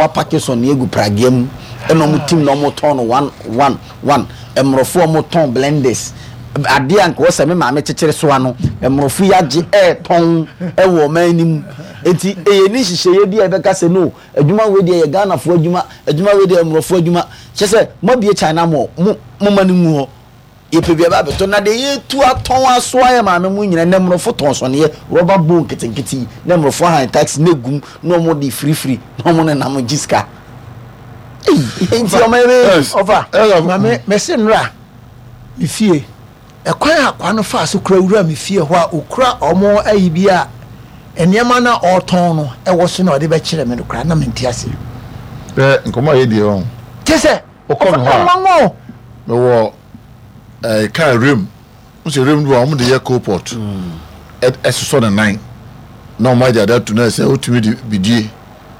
Ɔmo apake sɔneɛ gu pragea mu ɛna ɔmo tim na ɔmo tɔn no one one one. Mmorɔfo a ɔmo tɔn blenders, adeɛ a nka ɔsɛ me maame kyekyere soa no, mmorɔfo yi agye ɛɛtɔn ɛwɔ ɔman no mu. Nti ɛyɛ ni nhyehyɛeɛ bi a yɛbɛka sɛ no, adwuma wei deɛ yɛ Ghanafoɔ adwuma, adwuma wei deɛ yɛ mmorɔfo adwuma. Kyerɛ sɛ moabue China mall, mo momma no ngu hɔ. Yɛpɛ bi aba abɛtɔ na deɛ yɛtu atɔn asoa yɛ maame mu nyina nɛ mmorɔfo tɔn sɔneɛ rɔba bowl nketenkete yi na mmorɔfo ahan taxi na egum na wɔn de firifiri na wɔn nenam gye sika. Ei nti ɔma yɛ bɛyɛ. Ɔfa maame mɛsi nnora me fie ɛkwan a akwa no faa so kura wura me fie hɔ a okura ɔmo ayi bi a nneɛma na ɔretɔn no ɛwɔ so na ɔde bɛkyerɛ me no koraa na mente ase. Ɛ nkɔmɔ a yɛ deɛ ɔn. Kyɛ sɛ Wokɔ me hɔ a, mewɔ ɛɛ kaa rim. N sɛ rim no wɔn de yɛ coalpot. Ɛsosɔ ne nan na wɔn agye ade ato na sɛ wotumi de bidie.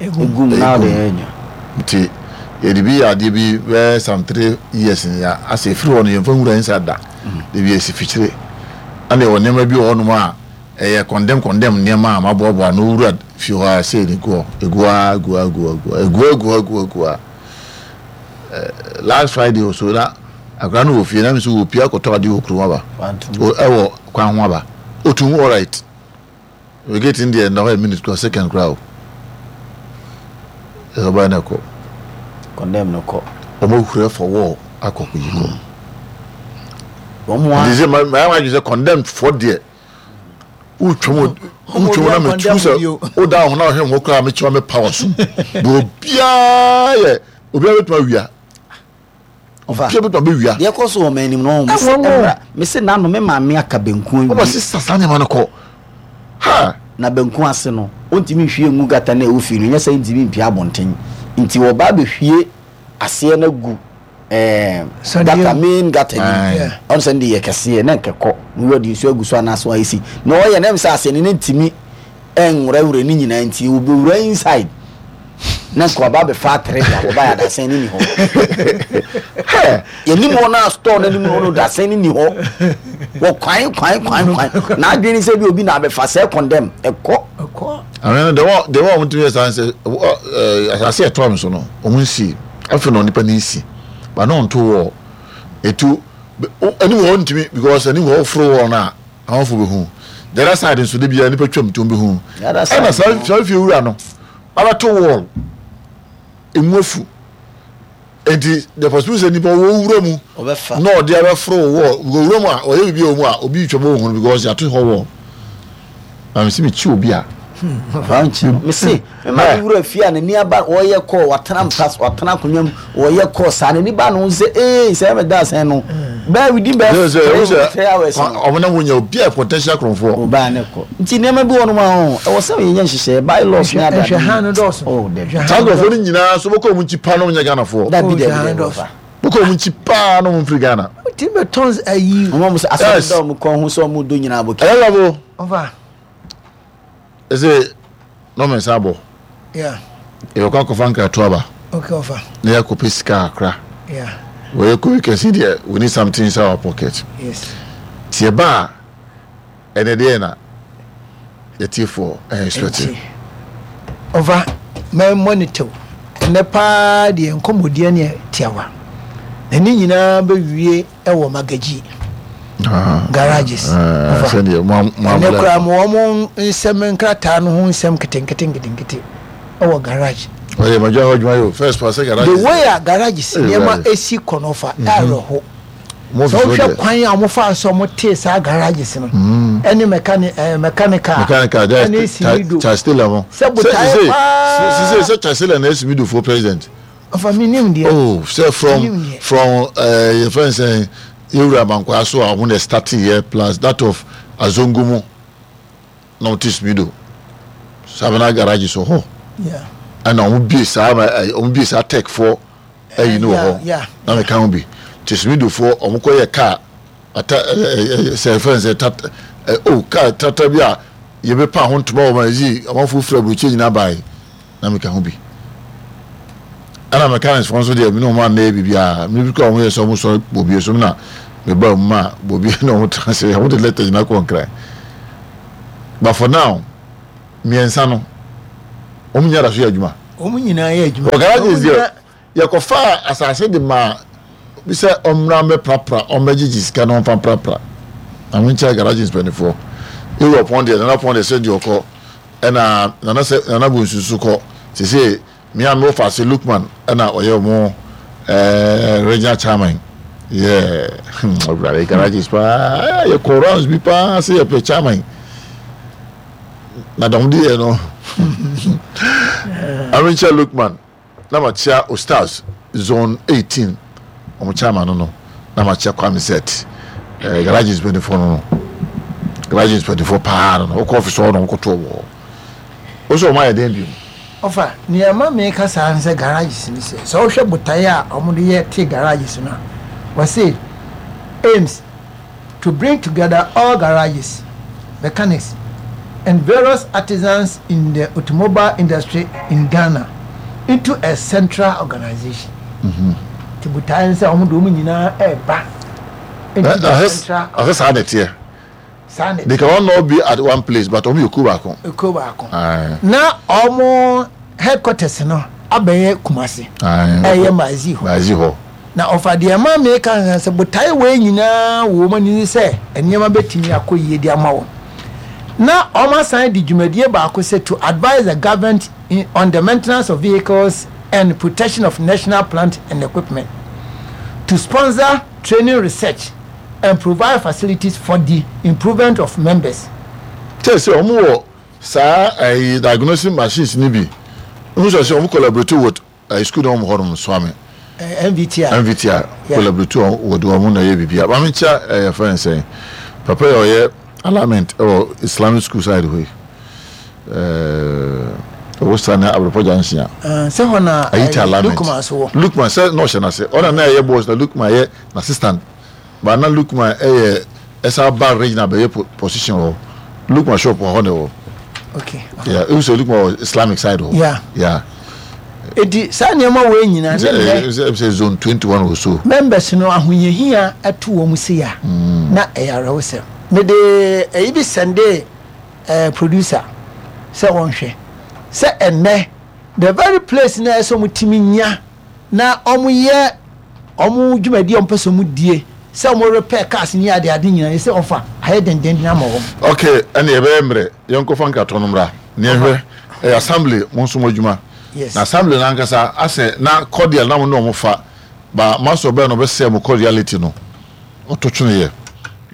Egum na ɔde yɛ adwuma. Nti yɛde bi yɛ adeɛ bi bɛyɛ some 3 years ni ya asɛ efiri hɔ no yɛnfa nwura nsa da. De bi esi fikyire. Ɛna yɛwɔ nneɛma bi wɔ hɔnom a ɛyɛ condemn condemn nneɛma a maboaboa no owura fie hɔ a sɛ egu hɔ egu hɔ egu hɔ egu hɔ egu hɔ egu hɔ egu hɔ egu hɔ egu hɔ. Last Friday or so na akwadaa no wɔ fie na mi nso wɔ pie akɔtɔ adeɛ wɔ kurom aba ɛwɔ kwan ho aba otum alright we get in there na hɔ yɛ minute kura second kura o ɛsɛ ɔbaa na ɛkɔ condemn no kɔ wɔn ahura for wall akɔ kɔ yi kɔ wɔn a nti sɛ maa maa adwene sɛ condemn fɔ deɛ wotwam wotwam na metu sɛ woda ho na ɔhwɛ ho koraa mekyerɛ me power so na obiara yɛ obiara bɛtumi awia obiara bɛtumi abɛwia deɛ ɛkɔ so wɔ m'anim no mese ɛmra mese nano me maame aka banku awie ɔba sisa saa nneɛma no kɔ ha na banku ase no ɔntumi nhwie ngu gata no a ɛwɔ fie no nyɛ sɛ ntumi mpia abɔnten nti wɔba abɛhwie aseɛ no agu ɛɛ gata main gata ni ɔno sɛ ne de yɛ kɛseɛ na nkɛkɔ na wɔde nsuo agu so anaasɛ wɔayɛ si na ɔyɛ na ɛm sɛ aseɛ no ne ntumi ɛnwurawura ne nyinaa nti wɔbɛwura inside na nka ɔba abɛfa atere de abɔba yɛ adasɛn ne ni hɔ yɛnim hɔ no a store no anim hɔ no dasɛn ne ni hɔ wɔ kwan kwan kwan kwan na adwene sɛ bi obi na abɛfa sɛ condemn ɛkɔ Ahwɛ no, the way a wɔtumi yɛ saa sɛ asase a ɛtoa me so no, wɔn nsi. Afei na onipa no nsi, ba na ɔnto wall. Etu anim hɔ ntumi because anim hɔ woforo wall no a, amanfo bɛhu. The other side nso de bia nipa twam nti wɔn bɛhu. Ɛna saa fie wura no abɛto wall emu afu. Enti the possibility sɛ nipa wɔ wura mu na ɔde abɛforo wɔ wɔ wura mu a ɔyɛ biribi wɔ mu a obi retwa bɔ ohun because yɛato hɔ wɔ na mesi mekyi obi a. Mese mema ne wura fie a n'ani aba ɔyɛ kɔɔ watena mpa watena akonnwa mu ɔyɛ kɔɔ saa n'ani ba no sɛ ee sɛ ɛmɛ da asɛn no bɛɛ within bɛɛ 3 hours no. Ɔmo na wɔnya obi a potential korɔmfoɔ. Ɔbaa ne kɔ nti nneɛma bi wɔ nom a ɔho ɛwɔ sɛ yɛnyɛ nhyehyɛɛ by laws ne adade. Nhwɛhan no dɔɔso. Oh dabi. Saa nkurɔfoɔ no nyinaa nso bɛkɔ wɔn nkyi paa na wɔn nyɛ Ghanafoɔ. Dabi dabi dabi ɔfa. Bɛkɔ wɔn nkyi paa na wɔn mfiri Ghana. Ti bɛ tɔn ayi. Wɔn a wɔn sɛ asɔre da wɔn kɔn ho sɛ wɔn dɔ nyinaa bɔ kii. Ɛyɛ lɔbo. Ɔfa. Ɛsɛ na ɔmɛ nsa abɔ. Yeah. Yɛbɛkɔ akɔfa nkrato aba. Okay ɔfa. Na yɛakɔpɛ sika kakra. Yeah. Wɔyɛ kɔ weekend deɛ we need something inside our pocket. Yes. Ti ɛba a ɛnɛ deɛ na yɛtiefoɔ ɛyɛ expect. Nti ɔfa mɛ monitor ɛnɛ paa deɛ nkɔmmɔdeɛ ne tiawa na ne nyinaa bɛwie ɛwɔ Magaji garages. Ɔfa ɛnɛ koraa mo wɔn nsɛm nkrataa no ho nsɛm nketenkete nketenkete ɛwɔ garage. Ɔyɛ madwa hɔ adwuma yɛ o first pa sɛ garage. The way a garages nneɛma esi kɔ no ɔfa ɛawerɛho. Sɛ wohwɛ kwan a wɔfa so wɔn tee saa garages no ɛne mechanic ɛɛ mechanical ɛne simido sɛ botaeɛ paa. Sise sɛ Chasela na esimido fo president. Ɔfa mi nim deɛ. Oh sɛ from from ɛɛ yɛ fɛn sɛn yɛwura Abankwaa so a wɔn na starting yɛ plus that of Azongo mu na wɔn te simido Savannah garage so hɔ ɛna wɔn bie saa wɔn bie saa tech foɔ. Ayi no wɔ hɔ na meka ho bi nti smidofoɔ ɔmo kɔ yɛ kaa ata ɛɛ sɛ ɛfɛn sɛ tat ɛ o kaa tata bi a yɛbɛ pa ho ntoma wɔ ma ɛzi amanfoɔ firi aburokyire nyinaa baae na meka ho bi ɛna mechanics foɔ nso deɛ me ne ɔmo anna yɛ biribiara me bi kɔ ɔmo yɛ sɛ ɔmo sɔre bobie so na me ba mu ma bobie na ɔmo tena se ɔmo de lɛtɛ nyinaa kɔ nkran but for now mmiɛnsa no ɔmo nyɛ da so yɛ adwuma. Wɔn nyinaa yɛ adwuma. Wɔ garages deɛ yɛkɔfaa asase de maa bi sɛ ɔmmra mmɛprapra ɔmmɛgyegye sika na ɔmfa mprapra. Na menkyerɛ garages mpanimfoɔ. Ewura pɔn deɛ Nana pɔn deɛ sɛ deɛ ɔkɔ ɛna Nana sɛ Nana Bonsu nso kɔ sese me a mewɔ faase Lukman ɛna ɔyɛ ɔmo ɛɛ regional chairman yeah hmm ɔwurade garages paa yɛkɔ rounds bi paa sɛ yɛpɛ chairman. Na dɔm de yɛ no Arenkyɛ Lukman na makyia Ostars zone 18 wɔn chairman no no na makyia Kwame Set eh, garages mpanyinfoɔ no no garages mpanyinfoɔ paa no no wokɔ ɔfis hɔ na wɔkɔto wɔn hɔ wo sɛ wɔn ayɛ dɛn bio. Ɔfa, nea ɛma meka saa ne sɛ garages no sɛ sɛ wohwɛ botaeɛ a wɔde yɛ te garages no a wɔse aims to bring together all garages, mechanics, and various artisans in the automobile industry in Ghana into a central organization. Nti botaeɛ ne sɛ wɔn de wɔn nyinaa ɛreba into the central. Ɔsɛ saa na ɛteɛ. Saa na They can all be at one place but wɔn yɛ kuo baako. Kuo baako. Na wɔn headquarters no abɛyɛ Kumasi. Ɛyɛ Maazi hɔ. Maazi hɔ. Na ɔfa deɛ ɛma meka no sɛ botaeɛ wei nyinaa wɔ wɔn ani ne sɛ nneɛma bɛtumi akɔ yie de ama wɔn. Na wɔn asan de dwumadie baako sɛ to advise the government in, on the maintenance of vehicles and protection of national plant and equipment, to sponsor training research and provide facilities for the improvement of members. Kyerɛ sɛ wɔn wɔ saa ɛyi diagnosing machines no bi. N sɛ sɛ wɔn collaborate with Ɛyɛ sukuu na wɔn hɔ nom soa me. MVTR. MVTR collaborate wɔn wɔde wɔn na ɛyɛ biribi a maame nkyia ɛyɛ fɛn sɛn papa yɛ ɔyɛ alignment ɛwɔ Islamic school side hɔ yi ɛɛ ɛwɔ sa na Abrepɔ junction a. Sɛ hɔ na Ayiti alignment Lukman so wɔ. Lukman sɛ na ɔhyɛ n'ase ɔna na ɛyɛ boss na Lukman yɛ n'assistant. Ba na Lukman yɛ ɛsa ba regional bɛyɛ position wɔ hɔ. Lukman shop wɔ hɔ na ɛwɔ. Okay. Yeah, ewu sɛ Lukman wɔ Islamic side hɔ. Yeah. Yeah. Eti saa nneɛma wei nyinaa ne nnɛ. Sɛ sɛ zone 21 or so. Members no ahohiahia ɛto wɔn si ya na ɛyɛ awerɛhosɛm. Mede ɛyi bi sɛnde eh, producer sɛ ɔnhwɛ sɛ ɛnnɛ the very place na ɛsɛ wɔn tumi nya na wɔyɛ wɔn dwumadi a wɔpɛ sɛ wɔn die sɛ wɔn repair cars ne ade ade nyinaa yɛ sɛ ɔfa ayɛ dendenden ama wɔn. Ok ɛne ɛbɛyɛ mmerɛ yɛnkɔfa nkratɔ no mmra na yɛnhwɛ ɛyɛ assembly mo nso mo adwuma Yes. na assembly no ankasa asɛ na cordial na mo ne wɔn fa ba master ɔbɛn na ɔbɛsɛɛ mo cordiality no ɔto tweneɛ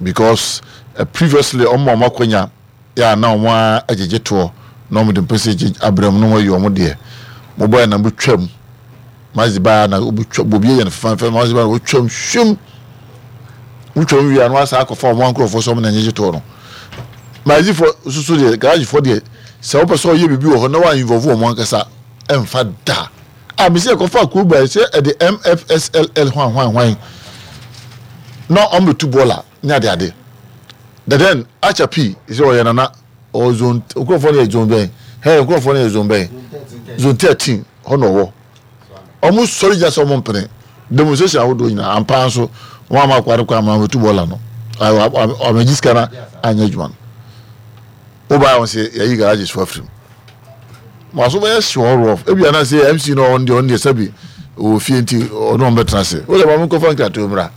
because eh, previously wɔn ma wɔn akwanya yɛ a na wɔn ara gyegye toɔ na wɔn de mpɛsɛ gye abrɛ mu na wɔn ayi wɔn deɛ mo bɔ yɛ na mo twam mazi baa na wɔbɛtwa bobi yɛ no fɛfɛɛfɛ mazi baa na wɔtwam hwim wotwam wie a na wɔasan akɔfa wɔn nkurɔfoɔ sɛ wɔn na nyegye toɔ no mazi fo soso deɛ garage fo deɛ sɛ wɔpɛ sɛ ɔyɛ biribi wɔ hɔ na wɔn involve wɔn ankasa ɛnfa da a mesi ɛkɔfa kuo baa sɛ ɛde mfsll hwan hwan hwan na wɔn bɛtu bɔɔla ne ade ade the then acha pii sɛ ɔyɛ nana ɔwɔ zone nkurɔfoɔ no yɛ zone bɛn hɛ nkurɔfoɔ no yɛ zone bɛn zone 13 hɔ na ɔwɔ ɔmo sɔre gyina sɛ ɔmo mpene demonstration ahodoɔ nyinaa ampa nso wɔn ama akwa no kɔ ama wɔtu bɔɔla no ɔmɛgye sika no anyɛ adwuma no wobaa wɔn sɛ yɛyi garages fo afiri mu mo aso bɛyɛ hyew ɔrɔf ebi anaasɛ mc no ɔno deɛ ɔno deɛ sɛbi ɔwɔ fie nti ɔno ɔmo bɛtena ase wọ́n dɛ maame nkɔfa nkratoɔ mmra.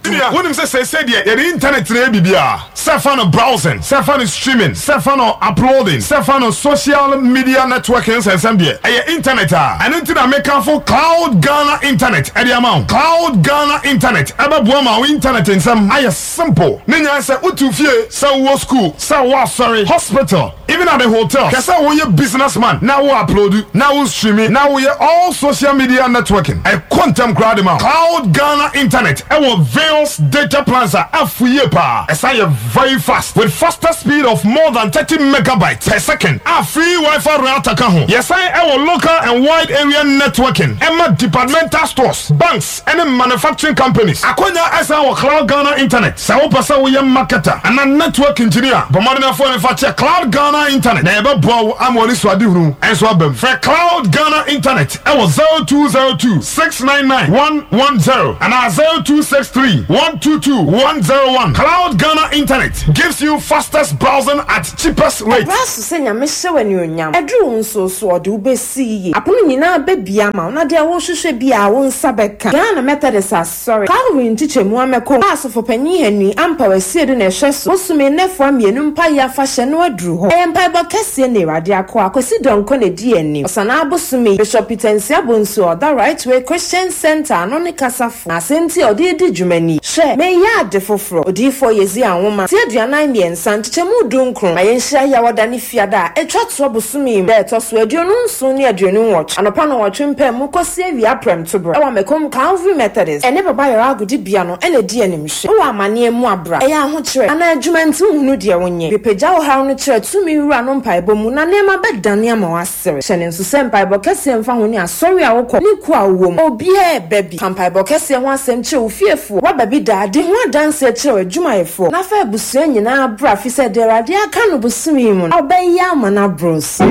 Nua, wonim sɛ seesei deɛ yɛde intanɛt na ɛyɛ biribiara? Sɛ fa no browsing, sɛ fa no streaming, sɛ fa no uploading, sɛ fa no social media networking nsɛnsɛm deɛ, ɛyɛ intanɛt a. Ɛno nti na mekamfo Cloud Ghana Internet de ama wo. Cloud Ghana Internet bɛboa ma wo intanɛt nsɛm ayɛ simple. Ne nyinaa ne sɛ wote wo fie, sɛ wowɔ sukuu, sɛ wowɔ asɔre, hospital, Even at the hotel, hwɛ sɛ woyɛ business man na wo upload, na wo streame, na woyɛ all social media networking. Ɛkɔ ntɛm koraa de ma wo. Cloud Ghana Internet wɔ various data plans a afu yie paa. Ɛsan yɛ very fast with faster speed of more than 30 megabytes per second a free WiFi router ka ho. Yɛsan wɔ local and wide area networking ɛma departmental stores, banks, ne manufacturing companies. Akwanya san wɔ Cloud Ghana Internet. Sɛ wopɛ sɛ woyɛ marketer anaa network engineer a, bɔ mmɔden na fa w'ani kyerɛ Cloud Ghana Internet na yɛbɛboa wo ama w'anisoadehunu nso aba mu. Frɛ Cloud Ghana Internet wɔ 0202 699 110 anaa 0263. 3 122 101. Cloud Ghana Internet gives you fastest browsing at cheapest rate. Ɛberɛ aso sɛ Nyame hyɛ wo anuonyam. Ɛduru wo nso so ɔde wo bɛsi yiye. Apono nyinaa bɛbue ama wo na deɛ worehwehwɛ biara wo nsa bɛka. Ghana Methodist Asɔre, Calvary nkyekyɛmu Amɛko a Asɔfopanyin Henry Ampaw Asiedu na ɛhwɛ so, bosome nnafua mmienu mpaeɛ afahyɛ no aduru hɔ. Ɛyɛ mpaebɔ kɛseɛ na Awurade akoa Kwasi Donkor na ɛdi anim. Ɔsanaa bosome yi, Bishop Peter Nsia Bonsu a ɔda Right Way Christian Centre ano ne kasafo, na asɛmti a ɔde redi dwuma nie, Hwɛ, mereyɛ ade foforɔ. Odiyifoɔ Yesaia nwoma, ti 43, nkyekyɛmu dunkron. Ma yɛnhyia Yawɔda ne Fiada a ɛtwa toɔ bosome yi mu, da a ɛtɔ so 27 ne 28, anɔpa nnɔnwɔtwe mpaemu kɔsi awia prɛmtoberɛ, wɔ Macomb Calvary Methodist ne Baba Yara Agodibea no na ɛdi animhwɛ. Wowɔ amaneɛ mu a, bra. Ɛyɛ ahokyerɛ anaa adwuma nti wonhunu deɛ wonyɛ? Bepagya wo haw no kyerɛ tumi Wura no mpaebɔ mu na nneɛma bɛdane ama woasere. Hyɛ no nso sɛ mpaebɔ kɛseɛ mfa ho ne asɔre a wokɔ ne kuo a wowɔ mu. Obiara reba bi. Ka mpaebɔ kɛseɛ ho asɛm kyerɛ wo fiefoɔ. Woaba bi daa? Di ho adanseɛ kyerɛ w'adwumayɛfoɔ na fa abusua nyinaa bra fisɛ deɛ Awurade aka no bosome yi mu no, ɔbɛyɛ ama no aboro so.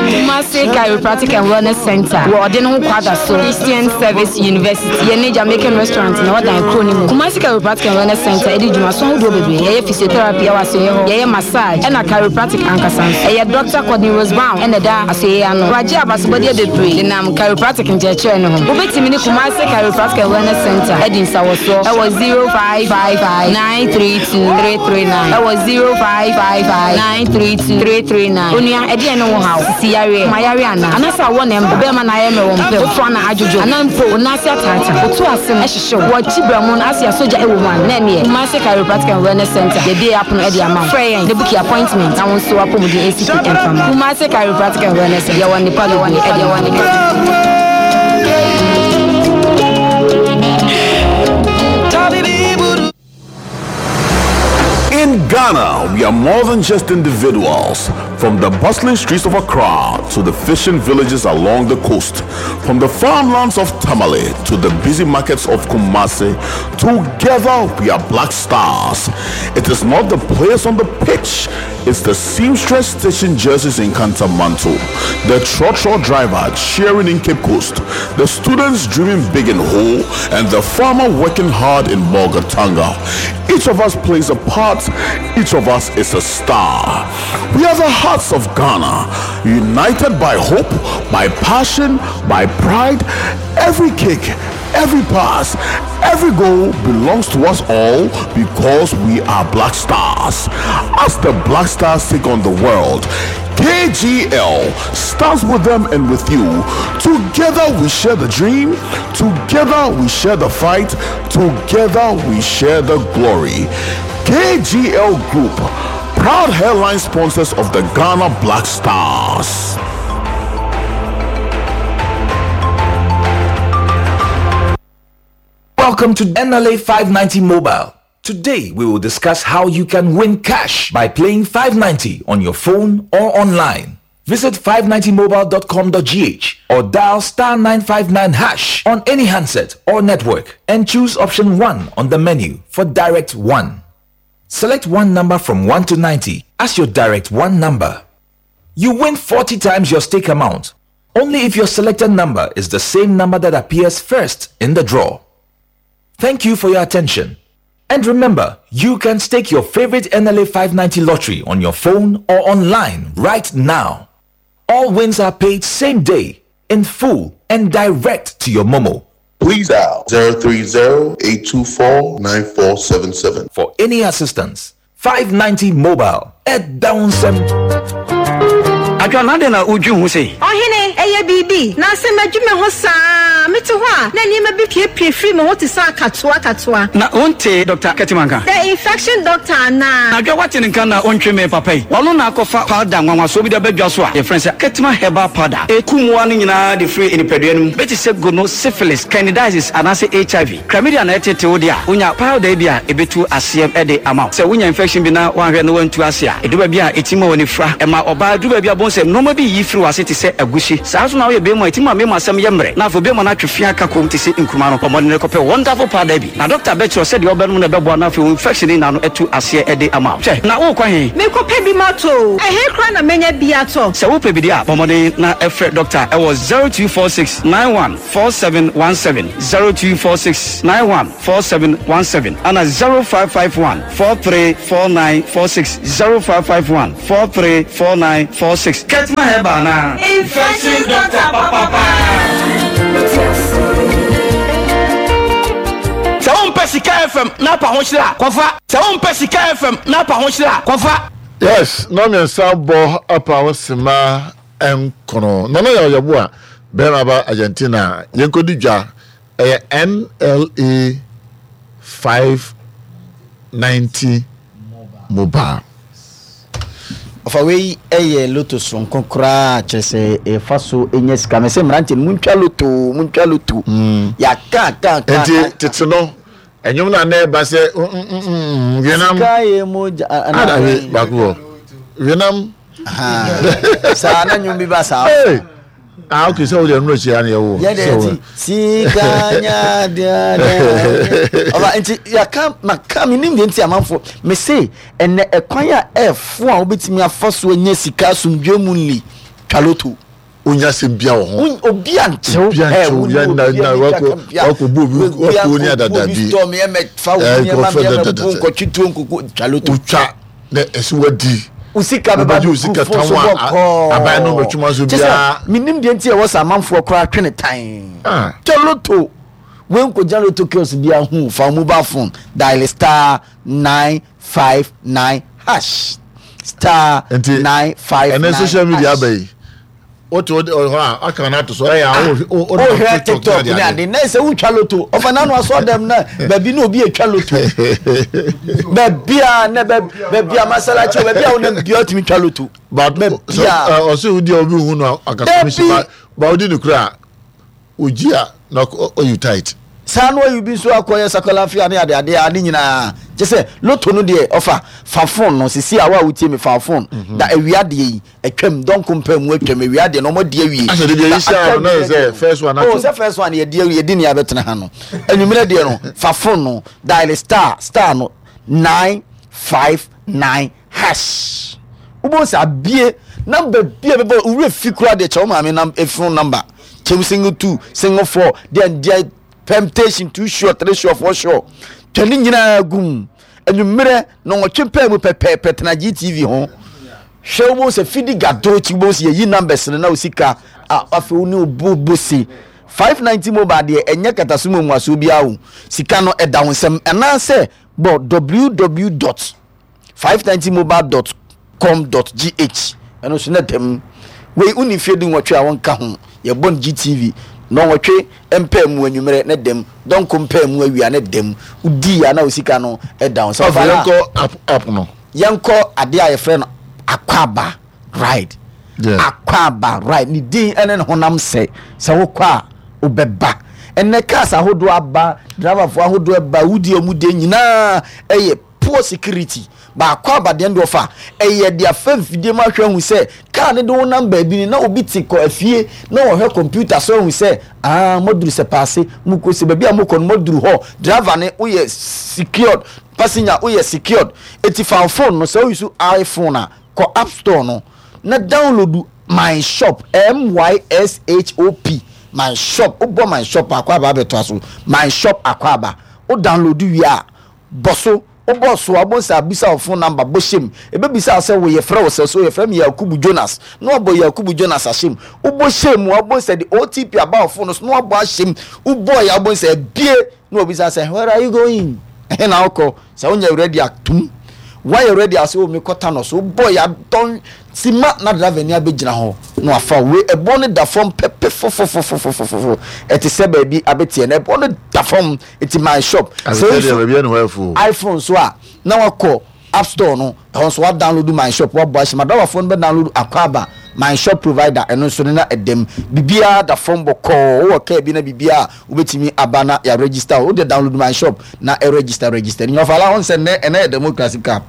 Kumasi Chiropractic and Wellness Center wɔ ɔde ne ho kwada so Christian Service University yɛ ne Jamaican restaurant na ɔdan kuro no mu. Kumasi Chiropractic and Wellness Center ɛdi dwumaso ahodoɔ bebree. Yɛyɛ physiotherapy ɛwɔ asoɛeɛ hɔ, yɛyɛ massage ɛna chiropractic ankasa nso. Ɛyɛ Doctor Courtney Rose Brown ɛna ɛda asoɛeɛ ano. Wagye abasobɔdeɛ bebree denam chiropractic nkyerɛkyerɛ no ho. Wobɛtumi ne Kumasi Chiropractic and Wellness Center adi nsawɔsoɔ ɛwɔ 0555 932 339 ɛwɔ 0555 932 339. Onua, ɛdeɛn ne wo haw? Sisi yareɛ, koma yareɛ anaa? Anaasɛ awɔ na ɛmba? Wo bɛɛma na ayɛ mmerɛ wɔ mpa mu? Wo toa na adwodwo? Anaa mpo wo nan ase ataataa? Wo to ase no ɛhyehye wo? Wɔ akyi berɛmo no ase a sogya ɛwɔ mu anaa? Na ɛneɛ, Kumasi Chiropractic and Wellness Center yɛabue yɛn apono ɛde ama wo. Frɛ yɛn na buki appointment na wo nso w'apɔmuden ɛnsi pi ɛmfa mma wo. Kumasi Chiropractic and Wellness Center, yɛwɔ nnepa bebree ɛde ma wo. In Ghana, we are more than just individuals. From the bustling streets of Accra to the fishing villages along the coast, from the farmlands of Tamale to the busy markets of Kumasi, together we are Black Stars. It is not the players on the pitch, it's the seamstress stitching jerseys in Kantamanto, the trotro driver cheering in Cape Coast, the students dreaming big in Ho, and the farmer working hard in Bolgatanga. Each of us plays a part, each of us is a star. We are the hearts of Ghana, united by hope, by passion, by pride. Every kick, every pass, every goal belongs to us all because we are Black Stars. As the Black Stars take on the world, KGL stands with them and with you. Together we share the dream, together we share the fight, together we share the glory. KGL Group, proud headline sponsors of the Ghana Black Stars. Welcome to NLA 590 Mobile. Today we will discuss how you can win cash by playing 590 on your phone or online. Visit 590mobile.com.gh or dial star 959 hash on any handset or network and choose option 1 on the menu for direct 1. Select one number from 1 to 90 as your direct 1 number. You win 40 times your stake amount only if your selected number is the same number that appears first in the draw. Thank you for your attention. And remember, you can stake your favorite NLA 590 lottery on your phone or online right now. All wins are paid same day, in full, and direct to your Momo. Please dial 030-824-9477. For any assistance, 590 Mobile at Downsem. Adwoa, na adɛn na wudwen ho sei? Ɔhene, ɛyɛ biribi, na sɛ madwi me ho saa a, mete hɔ a, na nneɛma bi piepie firi me ho te sɛ akatoa akatoa. Na wontee Dɔkta Ketewa nka? The infection doctor anaa? Adwoa, woate ne nka na wontwe me papa yi? Ɔno na akɔfa powder nwanwasoɔ bi de aba dwa so a yɛfrɛ no sɛ Ketewa Herbal Powder. Ɛku mmoa no nyinaa de firi nipadua no mu, bi te sɛ gono, syphilis, candidiasis anaasɛ HIV. Chlamydia na ɛtete wo de a, wonya powder yi bi a ebetu aseɛ de ama wo. Sɛ wonya infection bi na woanhwɛ na woantu ase a, edu baabi a etumi ma w'ani fura. Ɛma ɔbaa duru baabi a bohu sɛ nnoɔma bi reyi firi w'ase te sɛ agusi. Saa nso na woyɛ barima a, etumi ma mmarima asɛm yɛ mmerɛ na afei barima no. atwe fi aka kom te sɛ nkruma no, bɔ mmɔden na kɔpɛ Wonderful Powder bi, na dɔkta bɛkyerɛ wo sɛdeɛ wobɛnom na ɛbɛboa na afei wo infection no nyinaa no atu aseɛ de ama wo. Hwɛ, na worekɔ he? Merekɔpɛ bi matɔ o. Ɛhe koraa na mɛnya bi atɔ? Sɛ wopɛ bi deɛ a, bɔ mmɔden na frɛ dɔkta wɔ 0246 91 4717, 0246 91 4717, ana 0551 434946, 0551 434946. Ketma Herbal anaa? Infection doctor papapa. Sɛ wompɛ Sika FM na apa ho hyerɛ a, kɔfa. Sɛ wompɛ Sika FM na apa ho hyerɛ a, kɔfa. Yes, nnɔnmiɛnsa bɔ apa ho sima nkono. Nana Yaw Yeboah, bɛrima ba Argentina, yɛnkɔdi dwa. Ɛyɛ NLA 590 mobile. Ɔfa wei yɛ loto soronko koraa kyerɛ sɛ ɛfa so nya sika. Mese mmeranteɛ no muntwa loto muntwa loto. Mm. Yɛaka ka ka. Nti tete no ɛnwom na na ɛba sɛ wenam. Sika yɛ mogya. Ada we baako wɔ wenam. Saa na nwom bi ba saa. Ah, okay, sɛ wode ɛno akyi a na yɛwo. Yɛ deɛ ti sika nya deɛ deɛ. Ɔba nti yɛka maka menim deɛ nti amanfoɔ mese ɛnɛ ɛkwan a ɛfo a wobɛtumi afa so anya sika asomdwoe mu nli twa loto. Wonya asɛm bia wɔ ho. Obi ankyɛw. Obi ankyɛw ya na na wakɔ wakɔ bu obi wakɔ ni adada bi. Obi tɔ mi ɛmɛ fa wo nneɛma mi ɛmɛ bu nkɔtwi tuo nkoko twa loto. Wotwa na ɛsɛ wadi. Wo sika bɛba Wobɛgye wo sika bɛgu fon so tan a bɔkɔɔ. aban no bɛtwema so Kyɛ sɛ biara. menim deɛ nti a ɛwɔ sɛ amanfoɔ koraa twe ne tan. Ah. Twa loto. Wei nkɔgyina loto kiosk biara hu fa wo mobile phone dial star 959 hash. Star Nti 959 ɛnɛ social media hash. aba yi wote wode hɔ a aka no ato so ɛyɛ a wohwɛ tiktok ne ade na sɛ wotwa loto ɔfa nano asɔ dɛm na baabi na obi atwa loto baabi a na baabi a masalachi baabi a wonam bia wotumi twa loto baabi a ɔsɛ wodi a obi hu no akasɛ ba ba wodi no kura ogyi a na ɔyi tight saa no ayi bi nso akɔyɛ sakalafia ne adeade a ne nyinaa kyɛ sɛ loto no deɛ ɔfa fa phone no sisi a wo a wotie me fa phone mhm. da awia deɛ yi Atwam, dɔnko mpaa mu atwam, awia deɛ na wɔn adi awie. Asɛ de bi ayi hyɛ ano na yɛ sɛ first one ato. Oh, sɛ first one yɛdi awie yɛdi nea abɛtena ha no. Anwummerɛ deɛ no, fa phone no, dial star star no 959 hash. Wobɛhu sɛ abie number bi a bɛbɔ wura fi koraa deɛ kyɛ wo maame nam eh, phone number. Kyɛm single two, single four, deɛ deɛ permutation two sure, three sure, four sure. Twɛ ne nyinaa gum. Anwummerɛ nɔnwɔtwe paa mu pɛpɛɛpɛ tena GTV ho. Hwɛ wobɛhu sɛ fidi gado akyi wobɛhu sɛ yɛyi numbers no na wo sika a afei wo ne obo bose 590 mobile deɛ ɛnyɛ kataso mu mmuasoɔ biara o sika no ɛda wo nsam anaasɛ bɔ www dot 590 mobile dot com dot gh ɛno nso na dɛm wei wonni mfeɛ du nwɔtwe a wɔnka ho yɛbɔ no gtv nɔnwɔtwe mpaa mu anwummerɛ ne dɛm dɔnko mpaa mu awia ne dɛm wodii a na wo sika no ɛda wo nsam Afei yɛnkɔ app app no. Yɛnkɔ adeɛ a yɛfrɛ no Akwaaba ride. Yeah. Akwaaba ride ne din ne ne honam sɛ sɛ wokɔ a wobɛba. Ɛnɛ cars ahodoɔ aba, driverfoɔ ahodoɔ aba, wodi a wɔn die nyinaa ɛyɛ poor security. Ba Akwaaba deɛ no deɛ ɔfa ɛyɛ de afa mfidie mu ahwɛ ahu sɛ car no de wo nam baabi no na obi te kɔ afie na ɔhwɛ computer so ahu sɛ ah moaduru sɛ paase mokɔ sɛ baabi a mokɔ no moaduru hɔ driver no woyɛ secured Passenger woyɛ secured eti fa wo phone no sɛ wo use iPhone a kɔ app store no na download my shop M-Y-S-H-O-P my shop wobɔ my shop a akwaaba abɛtoa so my shop akwaaba wo download wie a bɔ so wobɔ so a wobɛhu sɛ abisa wo phone number bɔ hyɛ mu ɛbɛbisa wo sɛ wo yɛfrɛ wo sɛ so yɛfrɛ me Yakubu Jonas na wabɔ Yakubu Jonas ahyɛ mu wobɔ hyɛ mu a wobɛhu sɛ de OTP aba wo phone no so na wabɔ ahyɛ mu wobɔɔ yɛ a wobɛhu sɛ abie Na wabisa sɛ, Where are you going? Ɛhe na wokɔ? Sɛ wonyɛ ready a, tum. Woayɛ ready a, sɛ o mekɔ Tano so. Wobɔ yɛ adɔn sima na driver ni abɛgyina hɔ na wafa wo. Wei ɛboɔ no da fam pɛpɛ fofofofofofofo. Ɛte sɛ baabi abɛteɛ no, ɛboɔ no da fam. Eti my shop. Sɛ Asɛ deɛ baabi ɛne hɔ ɛfo. iPhone so a, na wakɔ App store no, ɛhɔ nso wa download my shop, wabɔ ahyɛ mu. Adrawafoɔ no bɛ download Akwaaba, my shop provider, ɛno nso no na ɛda mu. Biribiara da fam bɔkɔɔ, wowɔ car bi na biribiara a wobɛtumi aba na yɛ register wo, wode download my shop na register register. Nea ɔfa la ho sɛ nnɛ ɛnɛ yɛ democracy cup.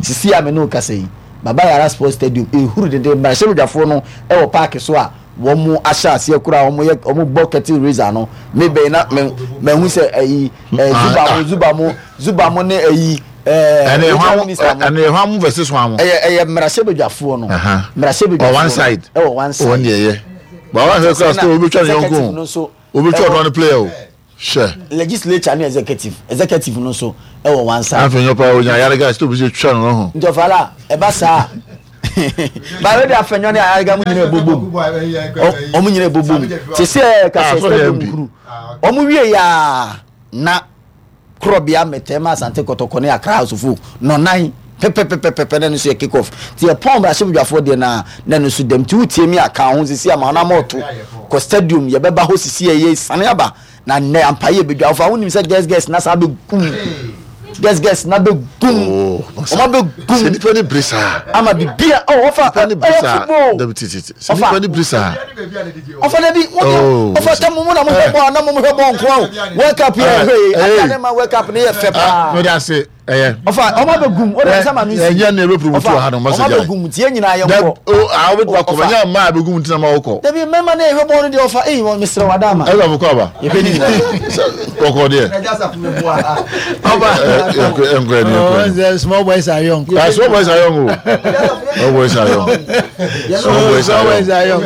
Sisi a me ne wo kasa yi, Baba Yara Sports Stadium, ɛhuru denden, mmarahyɛbadwafoɔ no wɔ park so a. wɔn ahyɛ aseɛ koraa wɔn yɛ wɔn bɔ curtain raiser no me bɛn na mɛ mɛhu sɛ ɛyi ɛɛ zuba mo zuba mo zuba mo ne ɛyi ɛɛ regional minister mo ɛne ɛhwan mo versus hwan mo ɛyɛ ɛyɛ mmarahyɛbadwafoɔ no mmarahyɛbadwafoɔ one side ɛwɔ one side wɔn deɛ yɛ ba wɔn ahwɛ kura sɛ obi twa ne yɔnko obi twa ɔdɔn ne player o. Hwɛ. Legislature ne executive, executive no nso wɔ one side. Afei nyɛ paa onya ayarega sɛ obi sɛ twa no ho. Nti ɔfala ɛba saa ba wei de afɛnyɔ ne ayarega mu nyina ɛbobom ɔmo nyina ɛbobom te sɛ kasɛ stadium kuru ɔmo wie yaa na korɔbea mɛtɛɛ ma Asante Kɔtɔkɔ ne Accra House of Oak nɔnan pɛpɛpɛpɛpɛ na ɛno nso yɛ kick off nti yɛpɔn mmarahyɛbadwafoɔ deɛ na na ɛno nso dɛm nti wotie mi a ka ho sisi ama ɔnam ɔto kɔ stadium yɛbɛba hɔ sisi yɛ sane aba na nnɛ ampa yɛ bɛdwa wofa wonim sɛ guest guest na saa bɛgum guest guest na bɛgum oh, ɔma bɛgum sɛ nipa ne bere saa ama bibia oh, ɔfa ɛyɛ football ɔfa nipa ne bere saa ɔfa dabi ɔfa tɛ mo na mo hwɛ bɔɔl na mo hwɛ bɔɔl nkoa o world cup yɛ hwɛ yi adi ne ma world cup ne yɛ fɛ paa mede ase ɛyɛ ɔfa ɔma bɛ gum o de sɛ ma mi si ɛnyɛ ne ebe promote wɔ ha no ɔma bɛ gum tie nyinaa yɛ nkɔ o a wobɛ tuma kɔ ɛnyɛ mmaa bɛ gum ntina ma wokɔ dabi mɛma ne hwɛ bɔɔl no deɛ ɔfa eyi wɔn mesrɛ wa dama ɛna mo kɔ aba yɛhwɛ ne nyinaa kɔkɔ deɛ ɔba ɛnkɔ ɛnkɔ ɛnkɔ small boys are young small boys are young o small boys are young small boys are young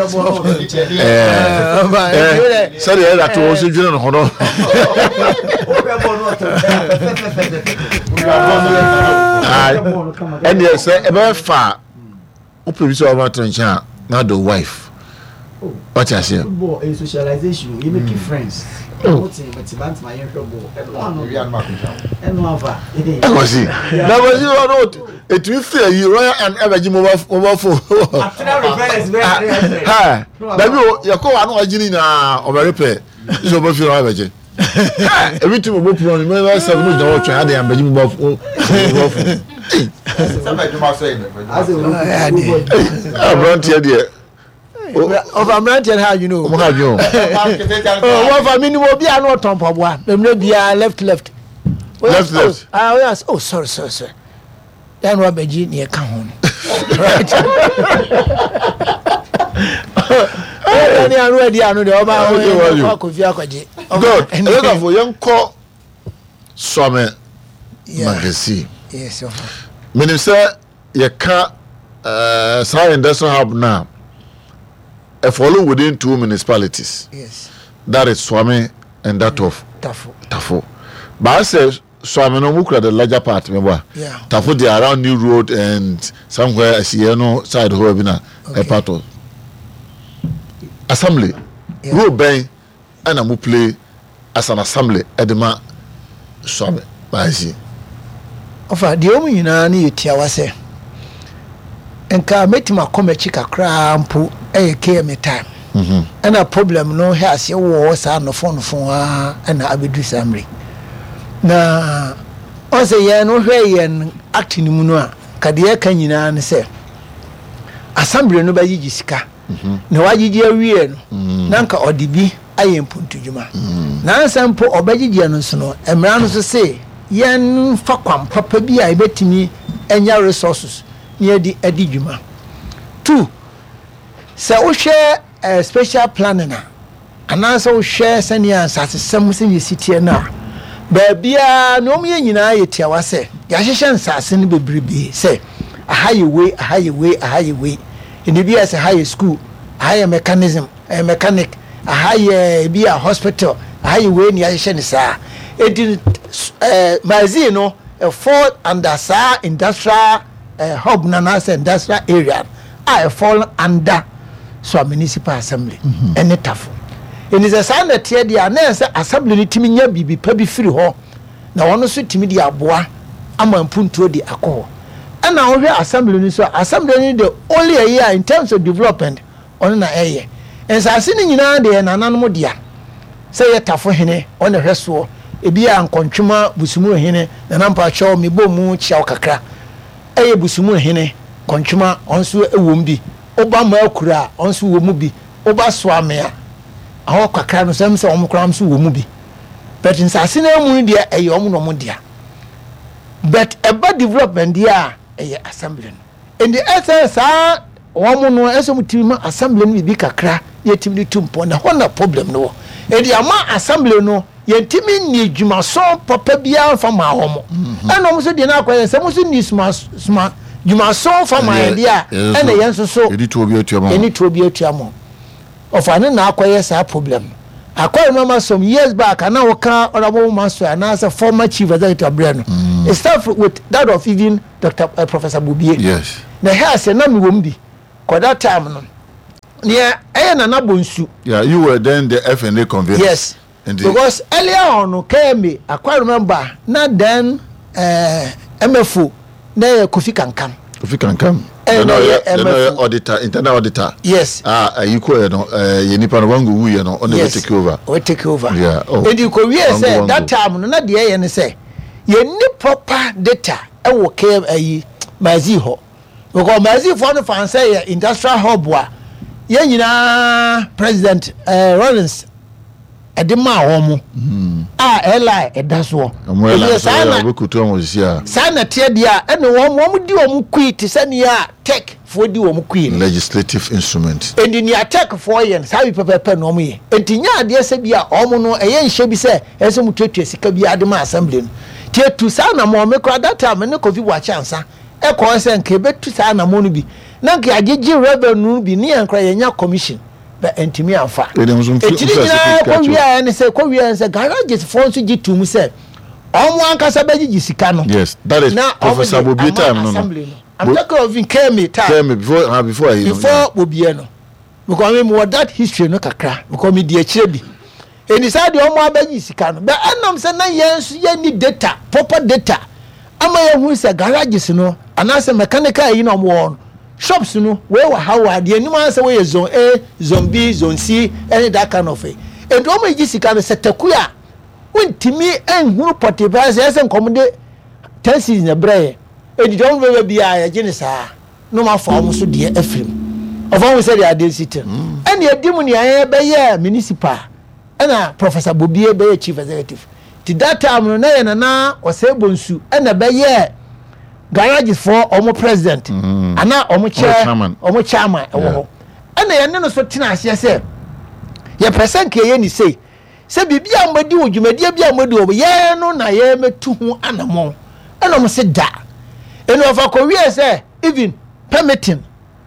sɛdeɛ ɛda to wɔ so dwene no ho no ɛneɛ sɛ ɛbɛyɛ fa a wopɛ bi sɛ wɔma to nkyɛn a na de wife wate aseɛ football ɛyɛ socialization you make friends ɛkɔsi na kɔsi ɔno ɛtumi firi ayi royal and ɛbɛgye mobile phone ha dabi o yɛkɔ wa ano agye ne nyinaa ɔbɛrepɛ sɛ ɔbɛfiri hɔ abɛgye ebi tumi bɔ pono no mɛbɛ sɛ no gyina hɔ twɛn ade abɛgye mobile phone mobile phone aberanteɛ deɛ ɔfa mmeranteɛ no ha adwene o ɔmo ha adwene o wɔfa mi ni obi a na ɔtɔn mpaboa mmerɛ biara left left left left ah oyà oh sorry sorry sorry yà ni wabɛgye nea ɛka ho no right ɔyà ni ano adi ano deɛ ɔba ɔyɛ akɔfi akɔgye good ɛyɛ yɛn kɔ sɔmi magazine menim sɛ yɛka uh, saa industrial hub no a ɛfɔlo within two municipalities yes. that is Suame and that of Tafo, Tafo. But I say Suame no mukura the larger part meboa yeah. Tafo dey around New Road and somewhere asiyɛ no side hɔ bi na okay. part of assembly yeah. role bɛn ɛna mo play as an assembly ɛde ma Suame Baasi. Ɔfa deɛ wɔn nyinaa no yɛ tiawa sɛ nka mɛtumi akɔ m'akyi kakraa mpo ɛyɛ KMA time mhm. ɛna problem no hɛ aseɛ wɔ hɔ saa nɔfɔnɔfɔn ara ɛna abɛduru saa mmere na ɔn sɛ yɛn no hwɛ yɛn act no mu no a ka deɛ ɛka nyinaa no sɛ assembly no bɛgyegye sika Na wagyegye awie no, na anka ɔde bi ayɛ mpuntudwuma. Na ansa mpo ɔbɛgyegyeɛ no nso no, mmara no nso se yɛmfa kwan papa bi a yɛbɛtumi anya resources na yɛde adi dwuma. Two, sɛ wohwɛ spatial planning a, Anaasɛ wohwɛ sɛnea nsasesɛm sɛnea esi teɛ no a, baabiara nea wɔyɛ nyinaa yɛ tiawa sɛ yɛahyehyɛ nsase no bebrebe sɛ aha yɛ wei, aha yɛ wei, aha yɛ wei. Ɛnna ebi ayɛ sɛ ha yɛ sukuu, aha yɛ mechanism, ɛyɛ mechanic, aha yɛ ebi a hospital, aha yɛ wei na yɛahyehyɛ no saa. Enti ɛɛ magazine no fall under saa industrial ɛɛ hub no anaasɛ industrial area a ɛfall under Soa Municipal Assembly ne Tafo. Enti sɛ saa na ɛteɛ deɛ a, na ɛsɛ sɛ Assembly no tumi nya biribi pa bi firi hɔ na wɔn nso tumi de aboa ama mpuntuo de akɔ hɔ. Ɛna wohwɛ Assembly no nso a, Assembly no de only ɛyɛ a in terms of development ɔno na ɛyɛ. Nsase no nyinaa deɛ yɛ nananom dea. Sɛ ɛyɛ Tafo hene, ɔno na ɛhwɛ soɔ. Ebi a Nkɔntwema Busumuru hene, Nana mpakyɛw mebɔ mu kyia wo kakra. Ɛyɛ Busumuru hene, Kɔntwema, ɔno nso wɔ mu bi. Woba Maakura a, ɔno nso wɔ mu bi. Woba Soame a, ɛhɔ kakra no, sɛ sɛ wɔn koraa nso wɔ mu bi. But nsase no amu no deɛ, ɛyɛ wɔn na wɔn dea. But ɛba development deɛ a, ɛyɛ assembly no. Nti ɛsɛ saa wɔn no, ɛsɛ wɔn tumi ma assembly no biribi kakra na yɛtumi de tu mpɔn na ɛhɔ na problem no wɔ. Enti ama assembly no yɛntumi nni dwumaso papa biara mfa maa wɔn. Ɛna wɔn nso deɛ no akɔyɛ sɛ wɔn nso nni suma suma dwumaso mfa maa yɛn deɛ a ɛna yɛn nso so yɛde tuo bi atua ma yɛne tuo bi atua ma ɔfa ne na akɔyɛ saa problem no. Akɔ remember some years back ana wɔka honourable Maxwell anaasɛ former chief executive abrɛ no. It start with that of even Dr. Uh, Professor Bobie. Yes. Na ɛhɛ ase na mewɔ mu bi. Kɔ that time no neɛ ɛyɛ Nana Bonsu. Yeah, you were then the FNA convener. Yes. Indeed. Because earlier on no KMA, I quite remember na then uh, MFO na yɛ Kofi Kankam. Kofi Kankam. Eh, na yɛ MFO. auditor, internal auditor. Yes. Ah, ayi ko yɛ no, eh, yɛ nipa no wango wu yɛ no, ɔna yes. take over. Ɔbɛ take over. Yeah. Oh. Edi ko wie sɛ that time no na deɛ yɛ ne sɛ yɛ ni proper data ɛwɔ KM ayi Mazi hɔ. Because Mazifoɔ no fan sɛ yɛ industrial hub a yɛn nyinaa president eh, Rawlings ɛde maa wɔn mo hmm. a airline ɛda soɔ. Ɛyɛ saa na saa na teɛ deɛ a ɛna wɔn wɔn di wɔn kui te sɛ nea tech foɔ di wɔn kui no. Legislative instrument. Ɛnti nea tech foɔ yɛ no saa bi pɛpɛpɛ na wɔn yɛ. Ɛnti nyɛ adeɛ sɛ bi a wɔn no ɛyɛ nhyɛ bi sɛ ɛsɛ wɔn tuatua sika bi ade ma assembly no. Tie tu saa na mo ɔmo kora that time ne Kofi Boakye ansa. Ɛkɔɔ sɛ nka yɛbɛtu saa anammɔn no bi na nka yɛagyegye revenue no bi ne yɛn koraa yɛanya commission but antumi amfa. Enti ne nyinaa kɔwieɛ ne sɛ kɔwieɛ ne sɛ garages foɔ nso gye tom sɛ wɔn ankasa bɛgyegye sika no. Yes, that is na Professor wɔn de Bobie time ama no no. assembly no. I'm talking of Kemi time. Kemi before ah before ayi no. Before Bobie no. Because me wɔ that history no kakra because me di akyire bi. Enti saa deɛ wɔn abɛgye sika no bɛ ɛnam sɛ na yɛn nso yɛnni data proper data ama yɛhu sɛ garages no anaasɛ mechanical ayi na wɔn wɔ no shops no wei wɔ ha wɔ ha deɛ anim ara sɛ wɔyɛ zone A zone B zone C ɛne that kind of thing. Enti wɔn regye sika no sɛ taku a wontumi nhunu pɔtee paa sɛ ɛsɛ nkɔm de ten cedis na ɛbrɛ yɛ enti deɛ wɔn bɛba biara yɛgye ne saa. na wɔn afa wɔn so deɛ afiri mu. Ɔfa ho sɛdeɛ adeɛ si te no. Ɛna ɛdi mu nea yɛn bɛyɛɛ municipal ɛna Professor Bobie bɛyɛ chief executive. Ti that time no na yɛ Nana Osei Bonsu ɛna bɛyɛɛ garages foɔ wɔn president mm. ana wɔn chair wɔn chairman ɛwɔ hɔ. Ɛna yɛne no so tena aseɛ sɛ yɛpɛ sɛ nka yɛyɛ ne sei sɛ biribi a wɔadi wɔ dwumadie bi a wɔadi wɔ yɛn no na yɛmɛtu ho anamɔn ɛna wɔn se da ɛna ɔfa kɔwie sɛ even permitting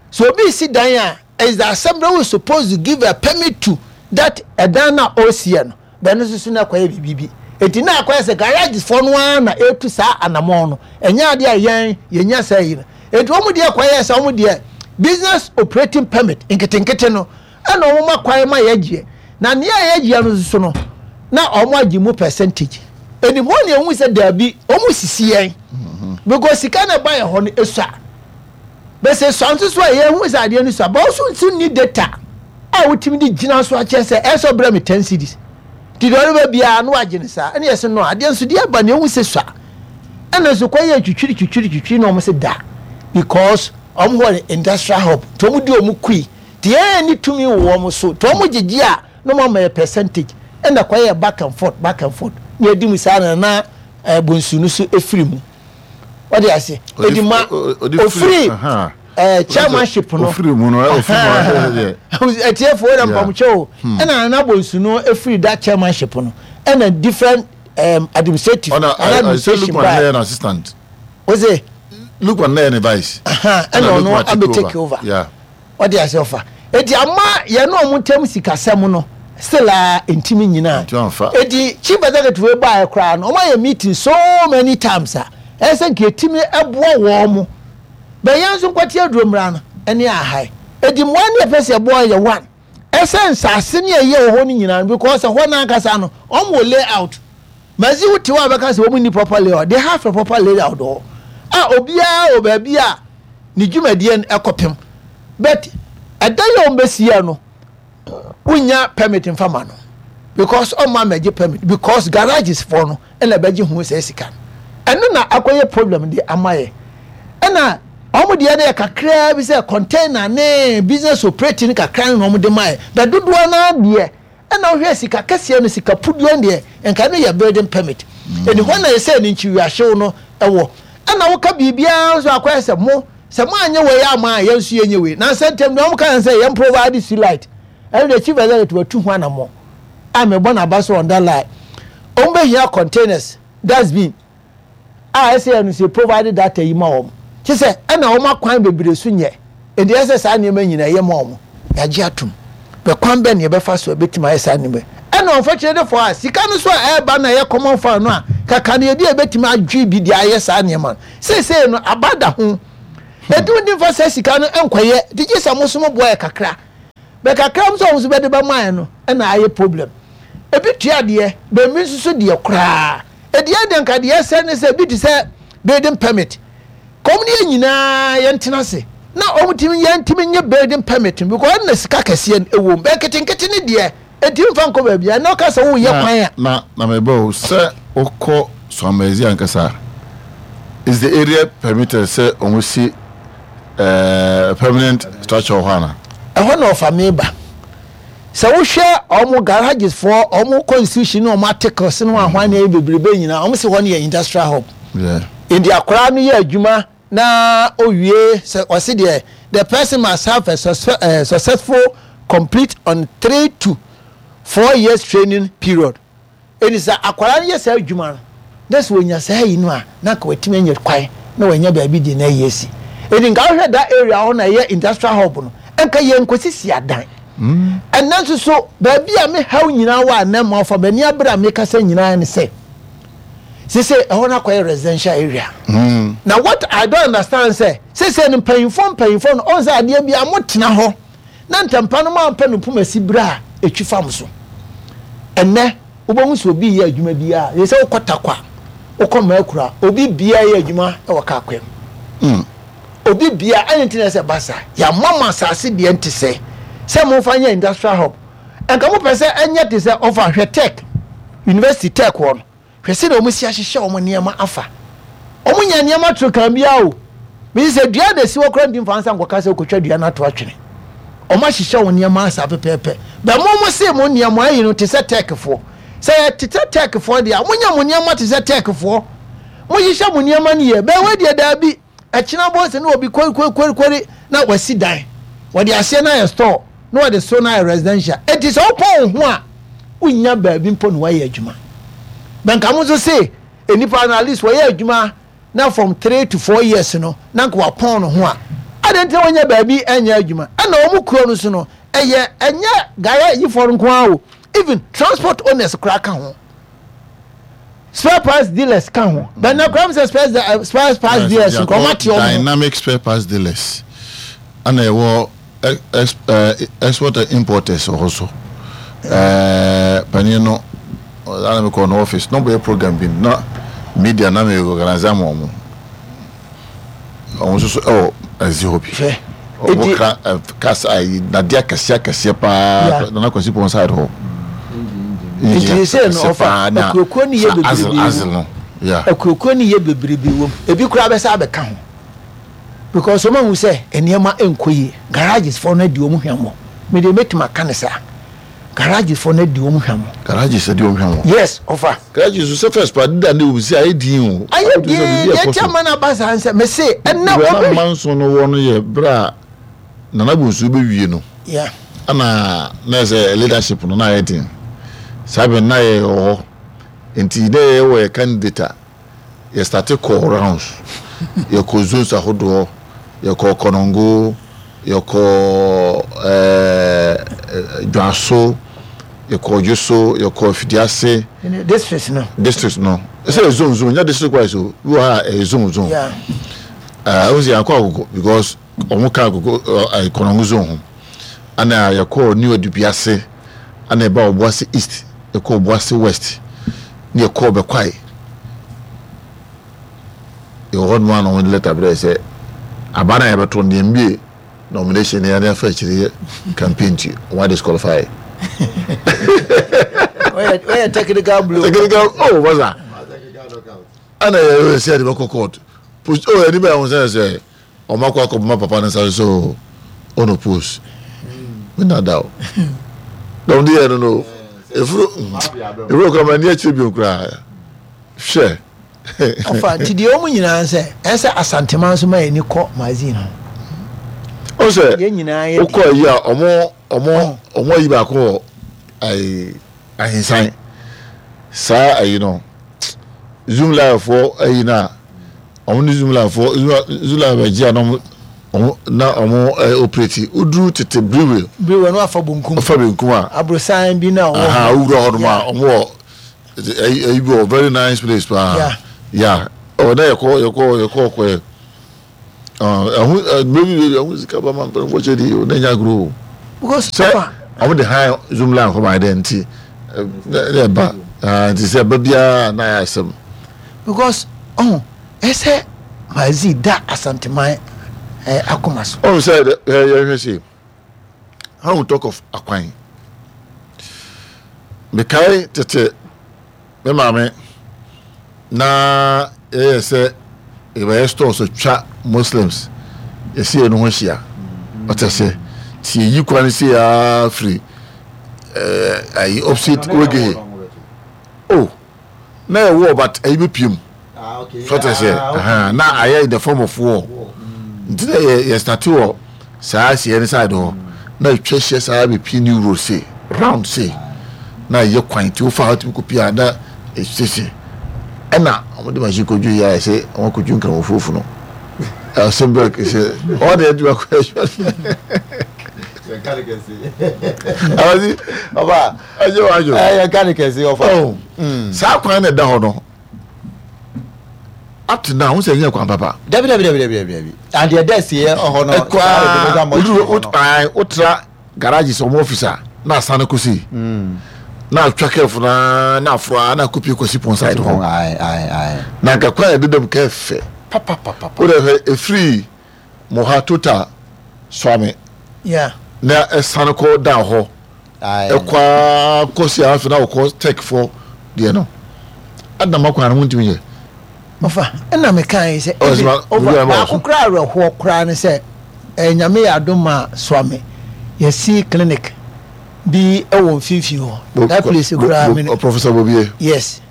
so obi si dan a is the assembly who is supposed to give a permit to that ɛdan na ɔresiɛ no bɛn no soso na akɔyɛ biribi bi eti na akɔyɛ sɛ garage foɔ no ara na etu saa anamɔn no ɛnyɛ adeɛ a yɛn yɛnya saa yi no eti wɔn deɛ kɔyɛ sɛ wɔn deɛ business operating permit nketenkete no ɛna wɔn ma kwan ma yɛgyeɛ na nea yɛgyeɛ no nso no na wɔn agye mu percentage ɛni hɔ na ehu sɛ daabi wɔn sisi yɛn because sika na ɛba yɛ hɔ no esua bɛsɛ sua nso so a yɛhu sɛ adeɛ no sua bɔn nso nso ni data a wotumi de gyina so akyerɛ sɛ ɛsɛ ɔbrɛ mi ten cedis ti deɛ ɔreba biara no wagye ne saa ɛna yɛsɛ no adeɛ nso deɛ ɛba na ehu sɛ sua ɛna nso kɔ yɛ twitwiri twitwiri twitwiri na wɔn sɛ da because wɔn hɔ industrial hub nti wɔn di wɔn kui. Nti yɛn nni tumi wɔ wɔn so, nti wɔn gyegye a na wɔn ama yɛ percentage, ɛna kɔ yɛ back and forth, back and forth, na yɛdi mu saa na na eh, bonsu no so efiri mu. Wɔde ase, edi ma ofiri eh, chairmanship no. Ofiri mu no, ofiri mu Atiefo wɔde mpamokyɛ o, hmm. ɛna na bonsu no efiri that chairmanship no, ɛna different um, administrative, ɛna administration baa. Ɔna assistant. Ose. Lukman na yɛ ne vice. Ɛna ɔno abɛ take over. Yeah. Ɔde ase ɔfa. Eti ama yɛne ɔmo ntam sikasɛm no still a ntimi nyinaa. Eti chief executive wei baeɛ koraa no ɔmo ayɛ meeting so many times a ɛyɛ sɛ nka etimi ɛboa wɔn mo. Bɛ yɛn nso nkwati aduro mmra no ɛne ahae. Eti mmoa ne yɛpɛ sɛ yɛboa yɛ one ɛsɛ nsaase ne ɛyɛ wɔ hɔ no nyinaa no because ɛhɔ no ankasa no ɔmo wɔ layout. Mazi wo te hɔ a bɛka sɛ wɔn nni proper layout. They have a proper layout wɔ hɔ a obiara wɔ baabi a ne dwumadie no ɛkɔpem but ɛda yi a wɔn bɛsi no wonya permit nfa ma no because ɔma mɛgye permit because garages foɔ no ɛna bɛgye ho sɛ sika no ɛno na akɔyɛ problem de ama yɛ ɛna wɔn deɛ no yɛ kakraa bi sɛ container ne business operating kakra no na wɔn de ma yɛ bɛ dodoɔ naa deɛ Ɛna wohwɛ sika kɛseɛ no sika puduo no deɛ nka ɛno yɛ building permit. Ɛni hɔ na yɛsɛ ne nkyiwiahyew no wɔ. Ɛna woka biribiara nso akɔyɛ sɛ mo sɛ mo anyɛ wei ama a yɛn nso yɛnyɛ wei. Nansa ntam deɛ wɔn ka yɛn sɛ yɛn provide street light. Ɛno deɛ chief executive watu ho anammɔn a mebɔ n'aba so on that line. Wɔn bɛhia containers, dustbin a ɛsɛ yɛ no sɛ provide data yi ma wɔn. Kye sɛ ɛna wɔn akwan bebree so nyɛ. Enti ɛsɛ sɛ saa nneɛma nyinaa yɛ ma wɔn. Yɛagye atom. Bɛ kwan bɛn na yɛbɛfa so a ɛbɛtumi ayɛ saa nneɛma yi? Ɛna unfortunately for us, sika no so a ɛreba no a ɛyɛ common fund no a, kaka no yɛde a yɛbɛtumi adwe bi de ayɛ saa nneɛma no. Seesei no, aba da ho. Enti wontumi mfa saa sika no nkɔyɛ, nti gye sɛ mo nso moboa yɛ kakra. Bɛ kakra nso a wɔn nso bɛde bɛma yɛn no na ayɛ problem. Ebi tua deɛ, bɛ ebi nso so deɛ koraa. Ɛdeɛ deɛ nka deɛ ɛsɛ ne sɛ ebi te sɛ building permit. Kɔm ne yɛn nyinaa yɛntena ase na wɔn tumi yɛn tumi nye building permit no because ɛna sika kɛseɛ no ɛwɔ mu. Bɛ nketenkete ne deɛ ɛntumi nfa nkɔ baabi a ɛna ɔka sɛ woyɛ kwan a. Na na meba o, sɛ wokɔ Swamezi ankasa a, is the area permitted sɛ wɔn si eh, permanent structure wɔ hɔ ana? Ɛhɔ na ɔfa me ba. Sɛ wohwɛ wɔn garages foɔ, wɔn constitution ne wɔn articles ne wɔn ahwan ne bebrebe nyinaa, wɔn si hɔ no yɛ industrial hub. Yeah. Nti akwaraa no yɛ adwuma na owie sɛ ɔsi deɛ the person must have a eh, successful complete on 3 to 4 years training period. Enti sɛ akwadaa no yɛ saa adwuma no, na sɛ ɔnya saa ayi no a, na anka watumi anya kwan na wanya baabi de n'ayi asi. Enti nka wohwɛ that area hɔ na ɛyɛ industrial hub no, nka yɛnkɔsisi adan. Ɛnnɛ nso so, baabi a me haw nyinaa wɔ a nnɛ mmoafa m'ani abere a mekasa nyinaa ne sɛ, sese ɛhɔ no akɔyɛ residential area. Na what I don't understand sɛ, sese no mpanyinfoɔ mpanyinfoɔ no, ɔn sɛ adeɛ bi a motena hɔ na ntɛmpa no mampɛ no mpoma si berɛ a ɛtwi fam so. Ɛnnɛ, wobɛhu sɛ obi reyɛ adwuma biara, yɛ sɛ wokɔ Tarkwa, wokɔ Maakura, obi biara yɛ adwuma wɔ kaa kwan mu. Mm. Obi biara, ɛne nti na ɛsɛ ba saa. Yɛama mo asase deɛ nte sɛ, sɛ momfa nyɛ industrial hub. Nka mopɛ sɛ ɛnyɛ te sɛ ɔfa hwɛ tech, university tech hɔ no. Hwɛ sɛdeɛ wɔn asi ahyehyɛ wɔn nneɛma afa. Wɔn nya nneɛma toro kan biara o. Mesi sɛ dua na esi hɔ koraa ntumi mfa nsa nkɔka sɛ okotwa dua no ato atwene. Wɔn ahyehyɛ wɔn nneɛma asa pɛpɛɛpɛ. Bɛ mo mo se mo nneɛma ayi no te sɛ Turkfoɔ. Sɛ yɛ te sɛ Turkfoɔ deɛ a, mo nya mo nneɛma te sɛ Turkfoɔ. Mo hyehyɛ mo nneɛma no yie. Bɛ wei deɛ daabi. Ɛkyena bɔ sɛ na obi kori-kori-kori-kori na wasi dan. Wɔde aseɛ no ayɛ store na wɔde soro no ayɛ residential. Enti sɛ wopɔn wo ho a, wonnya baabi mpo na woayɛ adwuma. But nka mo nso se nnipa no at least wɔyɛ adwuma na from 3 to 4 years no na nka wapɔn ne ho a, adɛn nti na wɔnnya baabi nyɛ adwuma? Ɛna wɔn kuro no so no, ɛyɛ ɛnyɛ garage yifoɔ no nko ara o, even transport owners koraa ka ho. Spare parts dealers ka ho. But na kura mi sɛ spare eh, spare parts dealers nka ɔmo ate ɔmo ho. Dynamic spare parts dealers ɛna ɛwɔ eh, export and importers wɔ hɔ so. Ɛɛ panin no ɛna mi kɔ no office na ɔbɛyɛ program bi na media na mi organize ama ɔmo. Wɔn nso so ɛwɔ ɛzi hɔ bi. Hwɛ. Wɔn kra ɛ kasa ayi dadeɛ akɛseɛ akɛseɛ paa Nana Kwasi Pɔn side hɔ. Nti sɛ no ɔfa akuokuo no yɛ bebrebe wɔ mu. Akuokuo no yɛ bebrebe wɔ mu. Ebi koraa bɛsa abɛka ho. Because wɔn ahu sɛ nneɛma nkɔ yie. Garages foɔ no adi wɔn hwammɔ. Me deɛ mɛtumi aka no saa. Garages foɔ no adi wɔn hwammɔ. Garages adi wɔn hwammɔ. Yes, ɔfa. Garages so sɛ first pa deda ne obi sɛ ayɛ din o. Ayɛ din deɛ nti ama no aba saa nsɛ mese ɛnna obi. Bere a manso no wɔ no yɛ bere a Nana Bonsu bɛwie no. Yeah. Ɛna na ɛsɛ leadership no na ayɛ den. Saa bere na yɛ wɔ hɔ. Nti na yɛ wɔ yɛ candidate a yɛ starte kɔɔ rounds. Yɛ kɔ zones ahodoɔ, yɛ kɔɔ Konongo, yɛ kɔɔ ɛɛ Dwaso, yɛ kɔɔ Dwoso, yɛ kɔɔ Afidiase. Districts no. Districts no. Ɛsɛ yɛ zone zone, nyɛ district wise o. Bi wɔ ha a ɛyɛ zone zone. Yeah. Ɛɛ o sɛ yɛn akɔ Agogo because wɔn ka Agogo ɛɛ Konongo zone ho. Ɛna yɛ kɔɔ New Adubiase, ɛna yɛ ba Obuasi East, yɛ kɔɔ Obuasi West, ne yɛ kɔɔ Bɛkwae. Yɛwɔ hɔ nom a na wɔde lɛta brɛ sɛ aba no a yɛbɛto no deɛ mbie nomination no yɛde afa akyire yɛ campaign nti wɔn disqualify. Wɔyɛ technical blow. Technical oh wasa. Ɛna yɛ sɛ yɛde bɛkɔ court. Post oh ɛni bɛyɛ wɔn sɛ sɛ wɔn akɔ akɔbɔ papa no nsa so ɔno post. Me nada o. Na wɔn de yɛ no no efuro efuro kura ma ni akyire bi koraa hwɛ. Ɔfa nti deɛ wɔn nyinaa sɛ ɛsɛ Asantema nso ma yɛn ani kɔ magazine ho. O sɛ Yɛn nyinaa yɛ wokɔ ayi a ɔmo. ɔmo ɔmo ayi baako wɔ ayi ahensan saa ayi no zoom live foɔ ayi na ɔmo ne zoom live foɔ zoom live agye a na ɔmo ɔmo na ɔmo ɛɛ operate oduru tete brewery. Brewery no afa bonkum. Afa benkum a. Aborosan bi na ɔwɔ. Aha owura hɔ nom a ɔmo wɔ ɛyi ɛyi bi wɔ very nice place paa. Yeah. Yeah ɔwɔ na yɛkɔ yɛkɔ yɛkɔ kɔ yɛ. Ɛho ɛgbɛ bi ɛho sika ba ma mpanyinfoɔ kyɛ di o na nya agorɔ o. Because sɛ ɔmo de han zoom line kɔ maa dɛ nti ɛna ɛba nti sɛ ɛba biara na ayɛ asɛm. Because ɔho ɛsɛ Mazi da Asanteman akoma so. Ɔho sɛ ɛ yɛhwɛ se how we talk of akwan mekae tete me maame na yɛyɛ sɛ yɛbɛyɛ stores atwa Muslims yɛsi yɛn ho ahyia ɔtɛ sɛ ti yɛyi kwan si aa firi ɛɛ ayi opposite wegehe oh. Na yɛ war but ɛyi bɛ pie mu so ɔtɛ sɛ na ayɛ in the form of war nti na yɛ yɛ start wɔ saa seɛ ne side hɔ na atwa hyia saa bɛ pie new road se round se na yɛ kwan ti wofa hɔ tumi kɔ pie a na esese ɛna wɔn de machine kɔdwu yɛ ayɛ sɛ wɔn akɔdwu nkramofoɔ funu asɛm bɛ sɛ wɔn de adwuma kɔ adwuma Awasi ɔba. Ɛyɛ wa yo. Ɛyɛ ka ne kɛse ɔfa. Oh. Mm. Saa kwan na ɛda hɔ no. Up to now, n sɛ ɛnyɛ kwan papa. Dabi dabi dabi dabi dabi. And deɛ dɛ si yɛ ɔhɔ no. Ɛkwa woduru wotra garage sɛ ɔmo office a na asan kɔ si. Mm. Na atwa kɛfo na na aforo a na akɔpie kɔsi pɔn side hɔ. Na nka kwan yɛ dedam kɛfɛ. Papa papa. Wode hwɛ efiri Moha Total Suame na ɛsane kɔ da hɔ ɛkɔ ara kɔ si afei na wɔkɔ tech fo deɛ no adama kwan no wontumi yɛ. Ɔfa ɛna meka yi sɛ ebi ɔfa baako koraa awerɛhoɔ koraa ne sɛ ɛɛ nyame yɛ adom ma Suame yɛsi clinic bi ɛwɔ mfimfini hɔ that place koraa mi. Professor Bobie. Yes.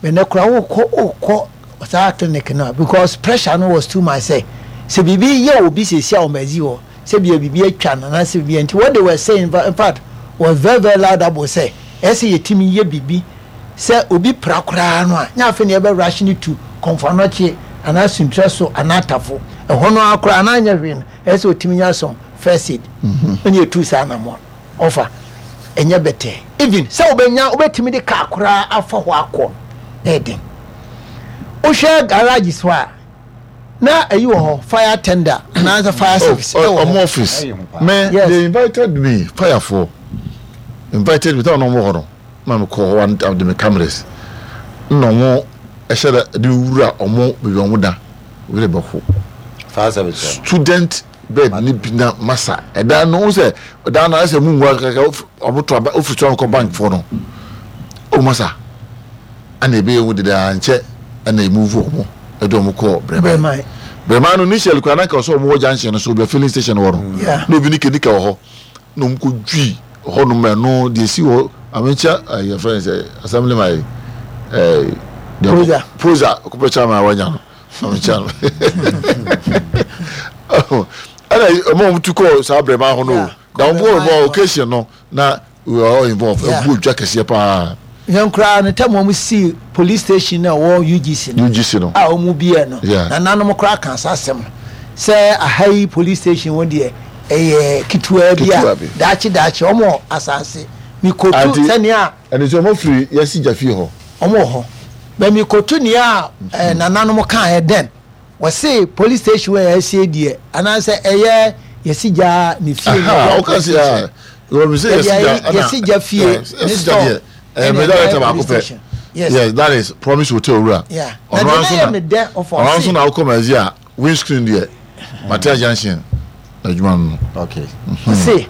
Ɛnɛ koraa wokɔ wokɔ saa clinic no a because pressure no was too much sɛ sɛ biribi yɛ obi sɛsi a wɔn adzi hɔ sɛ bia biribi atwa no anaasɛ biribi nti what they were saying in fact was very very loudable sɛ ɛsɛ yɛtumi yɛ biribi sɛ obi pra koraa no a nyɛ afei na yɛbɛ rush no to kɔnfoanɔkye anaa suntura so anaa tafo ɛhɔ no ara koraa anaa nyɛ hwee no ɛsɛ otumi nya some first aid ɛna yɛtu saa anammɔn. Ɔfa, ɛnyɛ bɛtɛɛ. Even sɛ wobɛnya wobɛtumi de car koraa afa hɔ akɔ no, ɛyɛ den. Wohwɛ garage so a, na ayi wɔ hɔ, fire tender anaasɛ fire oh, service ɛwɔ hɔ. Ɔmo office. Me, Yes. they invited me, fire foɔ invited me, táwọn ɔmo wɔ hɔ no, na me kɔ hɔ and de me cameras. Na ɔmo ɛhyɛ da de wura ɔmo baabi ɔmo da, obi de bɛko. Fire service. Student bed ne bi na masa ɛdan no sɛ ɛdan no ayɛ sɛ mu nwura kaka ɔmo to aba ofiri so akɔ bank foɔ no o masa ɛna ebe ehu deda nkyɛ ɛna emu vu ɔmo ɛde ɔmo kɔ brɛman brɛman no initially kora nanka ɔsɛ ɔmo wɔ junction no so obi filling station wɔ no na obi ne kenika wɔ hɔ na ɔmo kɔ dwi hɔ nom ɛno deɛ esi hɔ amenkyɛ ɛyɛ fɛn sɛ assembly man ɛɛ proza proza kɔpɛ chairman a wanya no. ɛna ɔmo a ɔmo tu kɔɔ saa brɛma ho no na ɔmo kɔɔ brɛma occasion no na we were all involved ɛbu odwa kɛseɛ paa. Yɛn koraa no tɛm wɔn si police station na ɛwɔ UGC no UGC no a wɔn biɛ no nananom koraa kan saa asɛm no sɛ aha yi police station wɔn deɛ ɛyɛ ketewa bi a daakye daakye wɔn wɔ asase mikotu sɛnea. Ɛne sɛ wɔn firi yɛsi gya fie hɔ. Wɔn wɔ hɔ. Bɛ mikotu nea eh, nananom kaeɛ dɛn? Wɔse police station wɔ yɛasie deɛ anaasɛ ɛyɛ yɛsi gya ne fie ne ɛyɛ police station. Yɛsi gya fie ne store ɛna ɛyɛ police station. Yes. Yes, that is promise hotel wura. Yeah. Na deɛ na yɛ me dɛ ɔfɔ ɔno nso na wokɔ ma a windscreen deɛ Matia Junction adwuma no. Okay. Ɔse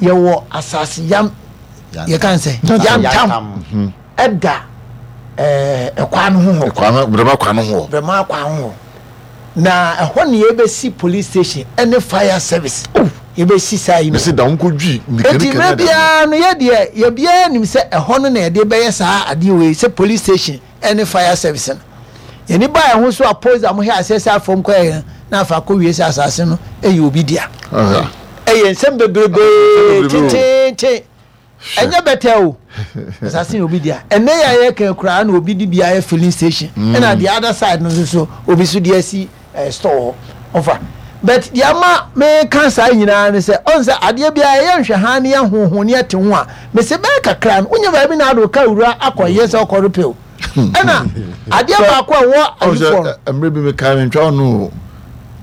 yɛwɔ asase yam yɛka sɛ yantam. Ɛda ɛkwan no ho hɔ. Ɛkwan no brɛma kwan no ho hɔ. Brɛma kwan ho hɔ. Na ɛhɔ na yɛbɛsi police station ɛne fire service. Oh. Yɛbɛsi saa yi no. Mesi da wɔn kɔ dwi nika nika. Eti mmerɛ biara no yɛ deɛ yɛ biara nim sɛ ɛhɔ no na yɛde bɛyɛ saa adeɛ wei sɛ police station ɛne fire service no. Yɛn ba ɛho so a police a wɔhwɛ aseɛ sɛ afɔm kɔ yɛ na afa akɔ wie sɛ asase no ɛyɛ obi dea. Ɛyɛ nsɛm bebrebee tenteenten. Ɛnyɛ bɛtɛ o. Asase yɛ obi dea. Ɛnɛ yɛ a yɛka koraa na obi de bi ayɛ filling station. Mm. Ɛna the other side no nso so obi so de asi eh, store hɔ. Ɔfa. But deɛ ama meka saa nyinaa ne sɛ ɔn sɛ adeɛ biara ɛyɛ nhwɛhaa ne yɛhoho ne yɛte ho a mese bɛyɛ kakra no wonya baabi na ade wo ka wura akɔyɛ sɛ ɔkɔ repew. Ɛna adeɛ baako a ɛwɔ ayifoɔ no. Mmerɛ bi mekae mentwa wo no o.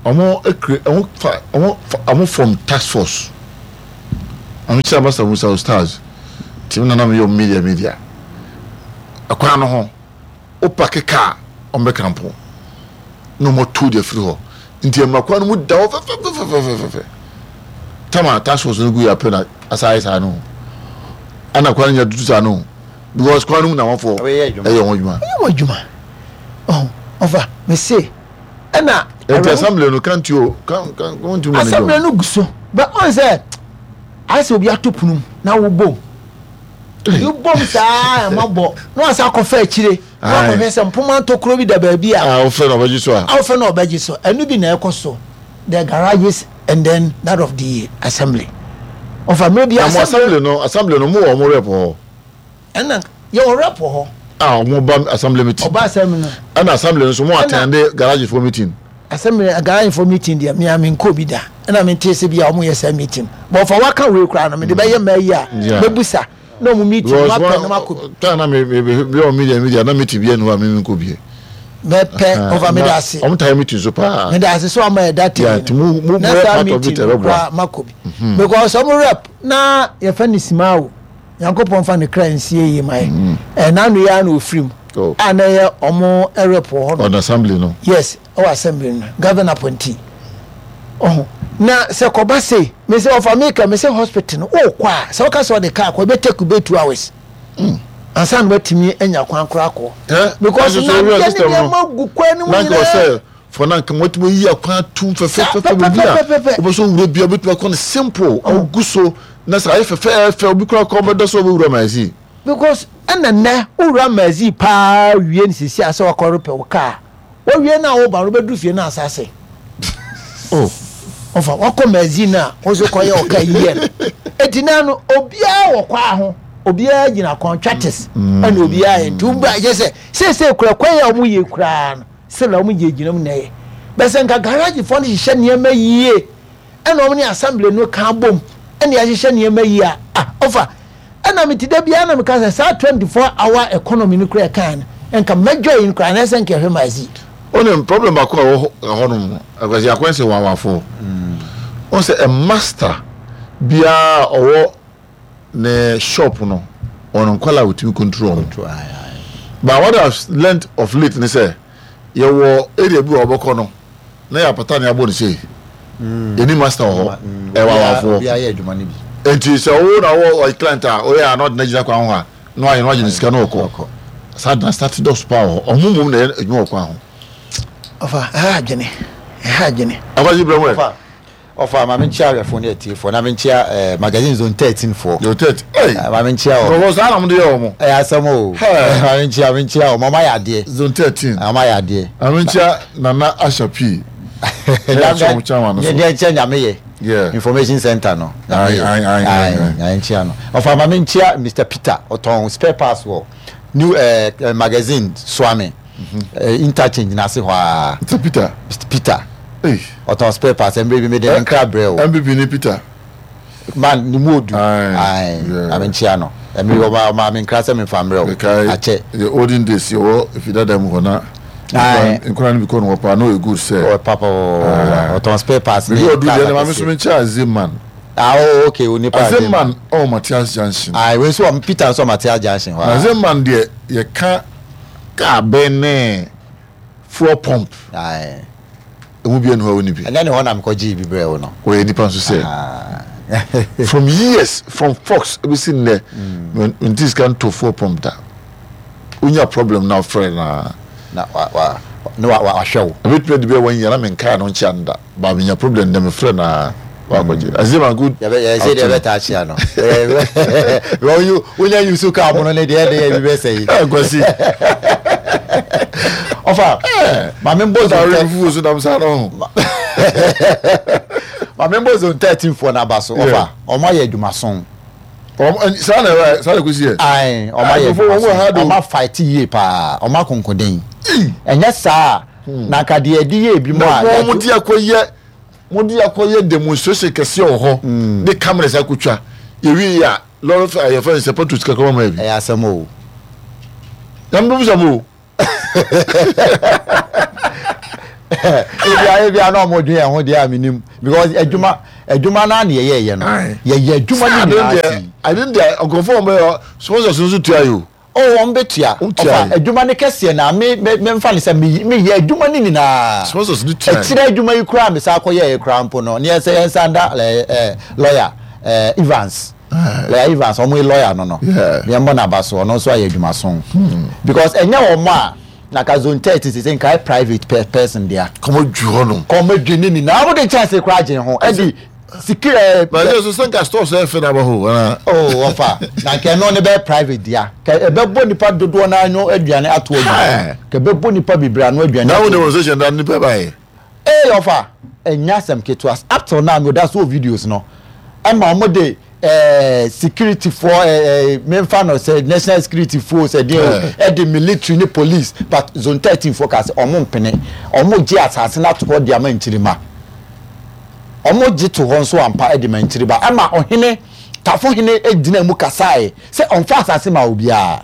Ɔmo ekre ɔmo fa ɔmo fa ɔmo form task force. Ɔno kyerɛ Master Musa Ustaz nti me na na meyɛ media media ɛkwan no ho wo pake car ɔmo bɛ kampo na ɔmo atu de afiri hɔ nti ɛma kwan no mu da hɔ fɛfɛfɛfɛfɛfɛ tama task force no gu yɛ apɛ na asa ayɛ saa no ɛna kwan no nya tutu saa no because kwan no mu na wɔfɔ ɛyɛ wɔn adwuma ɛyɛ wɔn adwuma ɔho ɔfa mese ɛna. Nti assembly no can't you can can won't you manage. Assembly no gu so but ɔn sɛ ayɛ sɛ obi ato pono mu na wobom wobom saa ɛma bɔ na wasa akɔfa akyire na wakɔhwɛ sɛ mpoma ntokuro bi da baabi a. A wofɛ na ɔbɛgye so a. A wofɛ na ɔbɛgye so ɛno bi na ɛkɔ so the garages and then that of the assembly ɔfa mmerɛ bi assembly no assembly no mo wɔ ɔmo rep hɔ. Ɛna yɛwɔ rep wɔ hɔ. A wɔn ba assembly meeting. Ɔba assembly no. Ɛna assembly no nso mo attend garage for meeting. Assembly garage for meeting deɛ mea me nkɔ bi da. Ɛna me nte sɛ bi a wɔn yɛ saa meeting. But ɔfa waka wei koraa no me de bɛyɛ mmaa yi a mɛbusa na wɔn meeting no apɛ na makɔ bi. Time na me me me bi wɔn media media na meeting bi ɛnu a me me nkɔ bi. Mɛpɛ ɔfa me da ase. Wɔn taa meeting so paa. Me da ase so ama yɛ da tɛm. Na saa meeting no koraa makɔ bi. Because wɔn rep na yɛfɛ ne simawo. Nyankopɔn mfa ne kra nsie yie ma yɛ. Ɛɛ n'ano yi ara na ofiri mu. Oh. A na ɛyɛ ɔmo rep wɔ hɔ no. Ɔno assembly no. Yes, ɛwɔ assembly no. Governor appointee. Ɔho. Na sɛ kɔba sei, me sɛ ɔfa me ka me sɛ hospital no, wokɔ a, sɛ woka sɛ ɔde car kɔ, ɛbɛ take bɛ 2 hours. Mm. Ansa na watumi anya kwan koraa kɔ. Eh, Because na adeɛ ne nneɛma gu kwan no mu nyinaa. For na nka wɔatumi ayi akwan atum fɛfɛɛfɛ baabi a wobɛ sɛ wowura bia wobɛtumi akɔ no simple ɔgu so na sɛ ayɛ fɛfɛɛfɛ obi koraa kɔ bɛdɔ sɛ wobɛwura Mazi. Because ɛna nnɛ wowura Mazi paa wie no sisi a sɛ wakɔ repɛ wo kaa wawie no a woba no wobɛduru fie no asa ase oh ɔfa wakɔ Mazi no a wo so kɔyɛ wo kaa yiyɛ no eti na no obiara wɔ kwaa ho obiara gyina contractors ɛna obiara yɛ nti wobɛ yɛ sɛ seesei kura kwan a wɔn yɛ koraa no Sɛnea wɔn gyinagyina mu na ɛyɛ. Bɛ sɛ nka garage foɔ no hyehyɛ nneɛma yie ɛna wɔn ne assembly no ka abom ɛna yɛahyehyɛ nneɛma yie a ah ɔfa ɛna me ti da biara na meka sɛ saa 24 hour economy no kura ɛkan no nka mɛdwa yi no kura anasɛ nka ɛhwɛ maazi. Wonim problem baako a ɛwɔ hɔnom no, Akwasi akwan sɛ wawafoɔ. Wɔn sɛ a master biara ɔwɔ ne shop no ɔno nkwadaa a otumi control wɔn but what I have learnt of late ne sɛ yɛwɔ area bi wɔ ɔbɛkɔ no na yɛ apata ne abɔ ne sei mm. yɛni master wɔ hɔ mm. ɛwɔ awafoɔ nti sɛ wo na wɔ ɔyɛ client a ɔyɛ a na ɔde n'agyina kwan ho a na wayɛ na wagye ne sika na ɔkɔ saa na start dɔs paa wɔ hɔ ɔmo mmom na ɛyɛ adwuma wɔ kwan ho. ɔfa ɛha adwene ɛha adwene. akɔgye brɛ mu ɛ. Ɔfa ma menkyia ahwɛfoɔ ne atiefoɔ na menkyia eh, magazine zone 13 foɔ. Zone 13. Hey. Eh, ma menkyia wɔn. Nkurɔfoɔ saa na wɔde yɛ wɔn. Ɛyɛ asɛm o. Hey. Ma menkyia menkyia wɔn. Wɔn ayɛ adeɛ. Zone 13. Wɔn ayɛ adeɛ. Ma menkyia Nana Asha Pii. Ɛyɛ kyɛn wɔn kyɛn wɔn so. Deɛ nkyɛn nyame yɛ. Yeah. Information center no. Ayi ayi ayi ayi. Ayi nkyia no. Ɔfa ma menkyia Mr Peter ɔtɔn spare parts wɔ new eh, eh, magazine Suame. Eh, interchange n'ase hɔ aa. Mr Peter. Mr Peter. Ɔtɔn spare parts mmerɛ bi mede ne nkra brɛ o. MPP ni Peter. Man ne mu odu. Ayi ame nkyia no. Mmerɛ bi ɔma ɔma me nkra sɛ memfa mmerɛ o. Akyɛ. The olden days yɛwɔ efi dada mu hɔ na. Nkora no bi kɔ no hɔ paa na ɔyɛ good sɛ. Ɔyɛ papa ɔtɔn spare parts ne. Bibi ɔdu deɛ na maame so me nkyia Azeman. Ah oh okay onipa Azeman ɔwɔ Matias Junction. Ayi wei nso Peter nso wɔ Matias Junction hɔ. Na Azeman deɛ yɛka kaa bɛn ne fuel pump. Emu bi enu hɔ a wonni bi. Ɛnyɛ ne hɔ na mekɔ gyee bi brɛɛ wo no. Ɔyɛ nipa nso sɛ. From years from fox ebesi nnɛ mente sika nto fuel pump da. Wonya problem na wofrɛ no a. Na wa wa ne wa wahwɛ wo. Ebetumi adi bɛyɛ one year na menkaa no nkyea no da. But menya problem ndɛ mefrɛ no a wakɔgye. Azeem a good Yɛbɛ yɛ sɛ deɛ bɛtaa kyea no. Wɔn yu wonya yusu kaa mono ne deɛ ɛde yɛ bi bɛsɛ yi. Kwasi. Ɔfa maame mbɔ zone tɛ. Fufuo so nam saa no ho. Maame mbɔ zone 13 foɔ n'aba so ɔfa ɔmo ayɛ adwumason. Ɔmo saa na ɛwɔ saa na ekosi yɛ. Ayi ɔmo ayɛ adwumason ɔmo afight yie paa ɔmo akonkoden ɛnyɛ saa na nka deɛ ɛde yɛ ebi mu a. Na wɔn de akɔyɛ wɔn de akɔyɛ demonstration kɛseɛ wɔ hɔ de cameras akotwa yɛwie yɛ a lɔri fɛ yɛfɛ nsɛ pɛtro sika kɔma ma yɛ bi. Ɛyɛ asɛm o. Nyame bɛ bisa mo o. Ebia ebia na ɔmo dwen ɛho deɛ a menim because adwuma adwuma naa na yɛyɛ yɛ no yɛyɛ adwuma no nyinaa si. Ade deɛ nkurɔfoɔ wɔn bɛyɛ sponsors nso tua yi o. Oh wɔn bɛ tua ɔfa adwuma no kɛseɛ na me me me nfa ne sɛ me me yɛ adwuma no nyinaa. Sponsors no tua yi. Akyire adwuma yi koraa me san kɔ yɛ yɛ koraa mpo no ne yɛ sɛ yɛn san da ɛɛ ɛɛ lawyer ɛɛ Evans. Lawyer Evans wɔn yi lawyer no no yɛn bɔ n'aba so ɔno nso ayɛ adwuma so because ɛnyɛ wɔn a na ka zone 30 sese nka ayɛ private pe person dea. Kɔmɔ dwi hɔ nom. Kɔmɔ dwi ne nyinaa wɔn de nkyɛnse koraa gye ho ɛdi sikiri ɛɛ. Na yɛ so sɛ nka stores ɛyɛ fɛ na aba hɔ ana. Oh wɔfa na nka ɛno ne bɛyɛ private dea ka ɛbɛbɔ nipa dodoɔ naa no aduane ato agu ka ɛbɛbɔ nipa bebree ano aduane ato agu. Na wo demonstration da nipa ba yɛ. Ee ɔfa, ɛnyɛ asɛm ketewa. Up till now, meda so wɔ videos no. Ɛma wɔn de ɛɛ security foɔ ɛɛ memfa no sɛ national security foɔ sɛ deɛ o, ɛde military ne police but zone 13 foɔ kaa sɛ wɔn mpene. Wɔn gye asase no ato hɔ de ama nkyirima. Wɔn gye to hɔ nso ampa de ma nkyiriba. Ɛma ɔhene, Tafo hene gyina mu kasaeɛ sɛ ɔmfa asase ma obiara.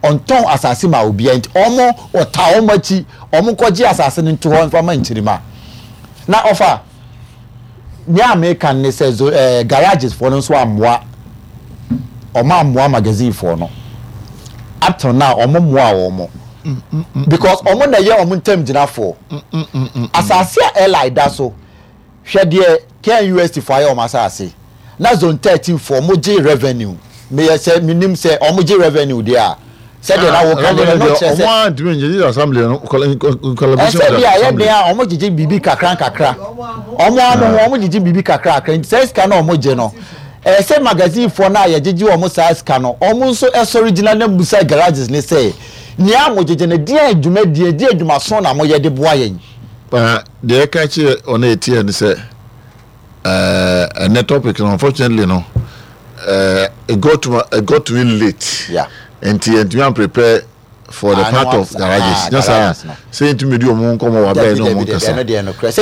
Ɔntɔn asase ma obiara nti wɔn ɔtaa wɔn akyi wɔn nkɔgye asase no nto hɔ mfa ma nkyirima. Na ɔfa nea meka ne sɛ zo ɛɛ eh, garages foɔ no nso ammoa wɔn ammoa magazine foɔ no up till now wɔn mmoa wɔn because wɔn na ɛyɛ wɔn ntam gyinafoɔ asase a airline da so. Hwɛ deɛ KNUST foɔ ayɛ wɔn asaase na zone 13 foɔ mo gye revenue meyɛ sɛ menim sɛ wɔn gye revenue deɛ a sɛdeɛ na woka deɛ no kyerɛ sɛ wɔn a ntumi ngye gye assembly no collaboration ɛsɛ bi a yɛ den a wɔn gyegye biribi kakra nkakra wɔn a mo ho wɔn gyegye biribi kakra kakra nti sɛ sika na wɔn gye no ɛsɛ sɛ magazine foɔ no a yɛgyegye wɔn saa sika no wɔn nso ɛsɔre gyina na musa garages ne sɛ nea mo gyegye no deɛ dwumadie deɛ dwumaso na mo yɛ de boa yɛn. Na deɛ ɛka kyerɛ wɔn a ɛtiɛ ne sɛ ɛnɛ topic no unfortunately no it got to it got to me late yeah. nti yɛntumi an prepare for the part of garages nyɛ saa sɛ yɛntumi di wɔn nkɔmmɔ wɔ abɛɛ ne wɔn nkasa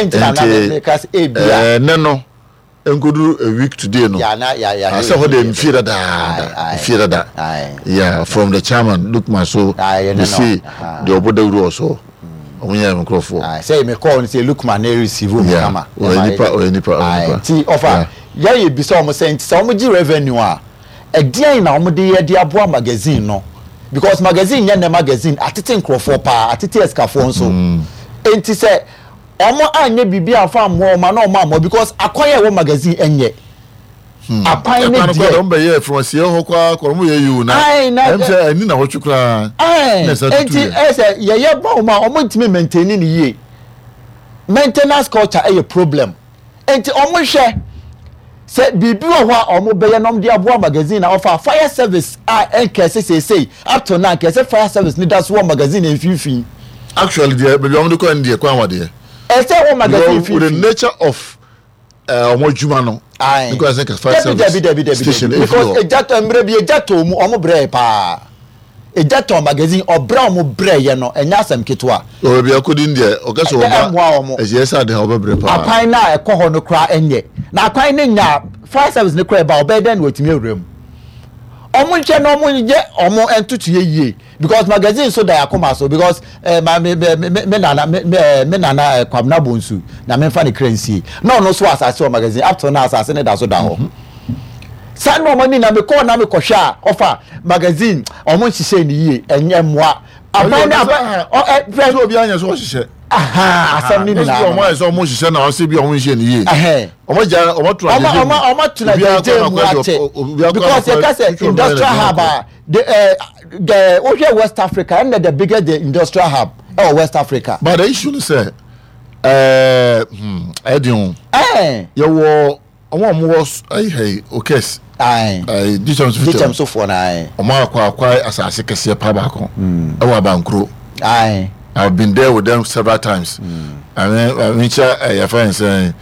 nti ɛnɛ no Nkoduru a week today no. Yeah, na, yeah, yeah. Asɛ hɔ de mfie dadaada. Mfie dada. Yeah, from the chairman Lukman so. Me see the ɔbɔ dawuro wɔ so. Ɔmo nyɛ me nkorɔfoɔ. Sɛ me call no sɛ Lukman na receive mu kama. Ɔyɛ nipa, ɔyɛ nipa, ɔyɛ nipa. Ti ɔfa yɛ yɛ bisa ɔmo sɛ nti sɛ ɔmo gye revenue a ɛdeɛn na ɔmo de yɛ de aboa magazine no because magazine nyɛ nɛ magazine atete nkorɔfoɔ paa atete asikafoɔ nso nti sɛ Ɔmo anyɛ biribi amfa ammoa ɔmo a na ɔmo ammɔ because akwan a ɛwɔ magazine ɛnyɛ. Akwan ne Ɛkwan no deɛ. koraa deɛ ɔmo bɛyɛɛ from aseɛ hɔ koraa kɔ ɔmo yɛ yie o na Ae na ɛm sɛ ɛni na wɔtwe koraa Ae na ɛsan tutu enti yɛ. ɛyɛ sɛ yɛyɛ ba ɔmo a ɔmo ntumi maintain ne yie. Maintenance culture ɛyɛ problem. Enti ɔmo nhwɛ sɛ biribi wɔ hɔ a ɔmo bɛyɛ na ɔmo de aboa magazine na ɔfa fire service a ɛnka ɛsɛ seesei up till now nka ɛsɛ fire service ne da so wɔ magazine mfimfini. Actually deɛ baabi a wɔn de kɔ no deɛ kwan wa deɛ. Ɛsɛ wɔ magazine Because with the mfimfini. nature of eh, wɔn adwuma no. Aye. Ne kwan sɛ nka fire Dabi service dabi dabi dabi station dabi efi because hɔ. egya tɔ mmerɛ bi egya tɔ mu ɔmo brɛɛ paa. Egya tɔn magazine ɔbrɛ a ɔmo brɛ yɛ no ɛnyɛ asɛm ketewa. Ɔwɔ baabi akɔdi no deɛ ɔka sɛ Ɛnyɛ ɔba ɛmmoa wɔn. ɛyɛ sɛ ade ha ɔbɛbrɛ paa. Akwan no a ɛkɔ hɔ no koraa ɛnyɛ. Na akwan no nyɛ a fire service no koraa ɛba a ɔbɛyɛ dɛn na watumi awura mu. Ɔmo nhwɛ na ɔmo nyɛ ɔmo ntotoeɛ yie because magazine nso da yɛn akoma so because eh, ma me me me me nana me me eh, me nana eh, Kwabena Bonsu na memfa ne kra nsie na ɔno nso wɔ asase wɔ magazine up till now asase no da so da hɔ. Saa nneɛma no nyinaa mekɔɔ na mekɔhwɛ a ɔfa magazine ɔmo nhyehyɛ ne yie ɛnyɛ mmoa aban ne aban ɔ ɛ fɛ. Sɛ obi anyɛ so ɔhyehyɛ. Asɛm ne nyinaa no. Ɔmo ayɛ sɛ ɔmo hyehyɛ na ɔsɛ bi ɔmo nhyɛ ne yie. Ɔmo gya ɔmo tena gyegye mu. Ɔmo tena gyegye mu akyɛ because yɛ ka sɛ industrial hub a the ɛ the wohwɛ West Africa ɛnna the biggest the industrial hub ɛwɔ West Africa. But the issue ni sɛ ɛɛ ɛdi o. Yɛ wɔ. Wɔn a wɔwɔ ayi ha yi, Okes. Ae. Ayi, Dikyɛm so Dikyɛm sofoɔ no ae. Wɔn akɔ akwae asase kɛseɛ paa baako. Ɛwɔ Abankuro. Ae. I've been there with them several times. I mean, I mean, kyɛ ɛyɛ fɛn sɛn.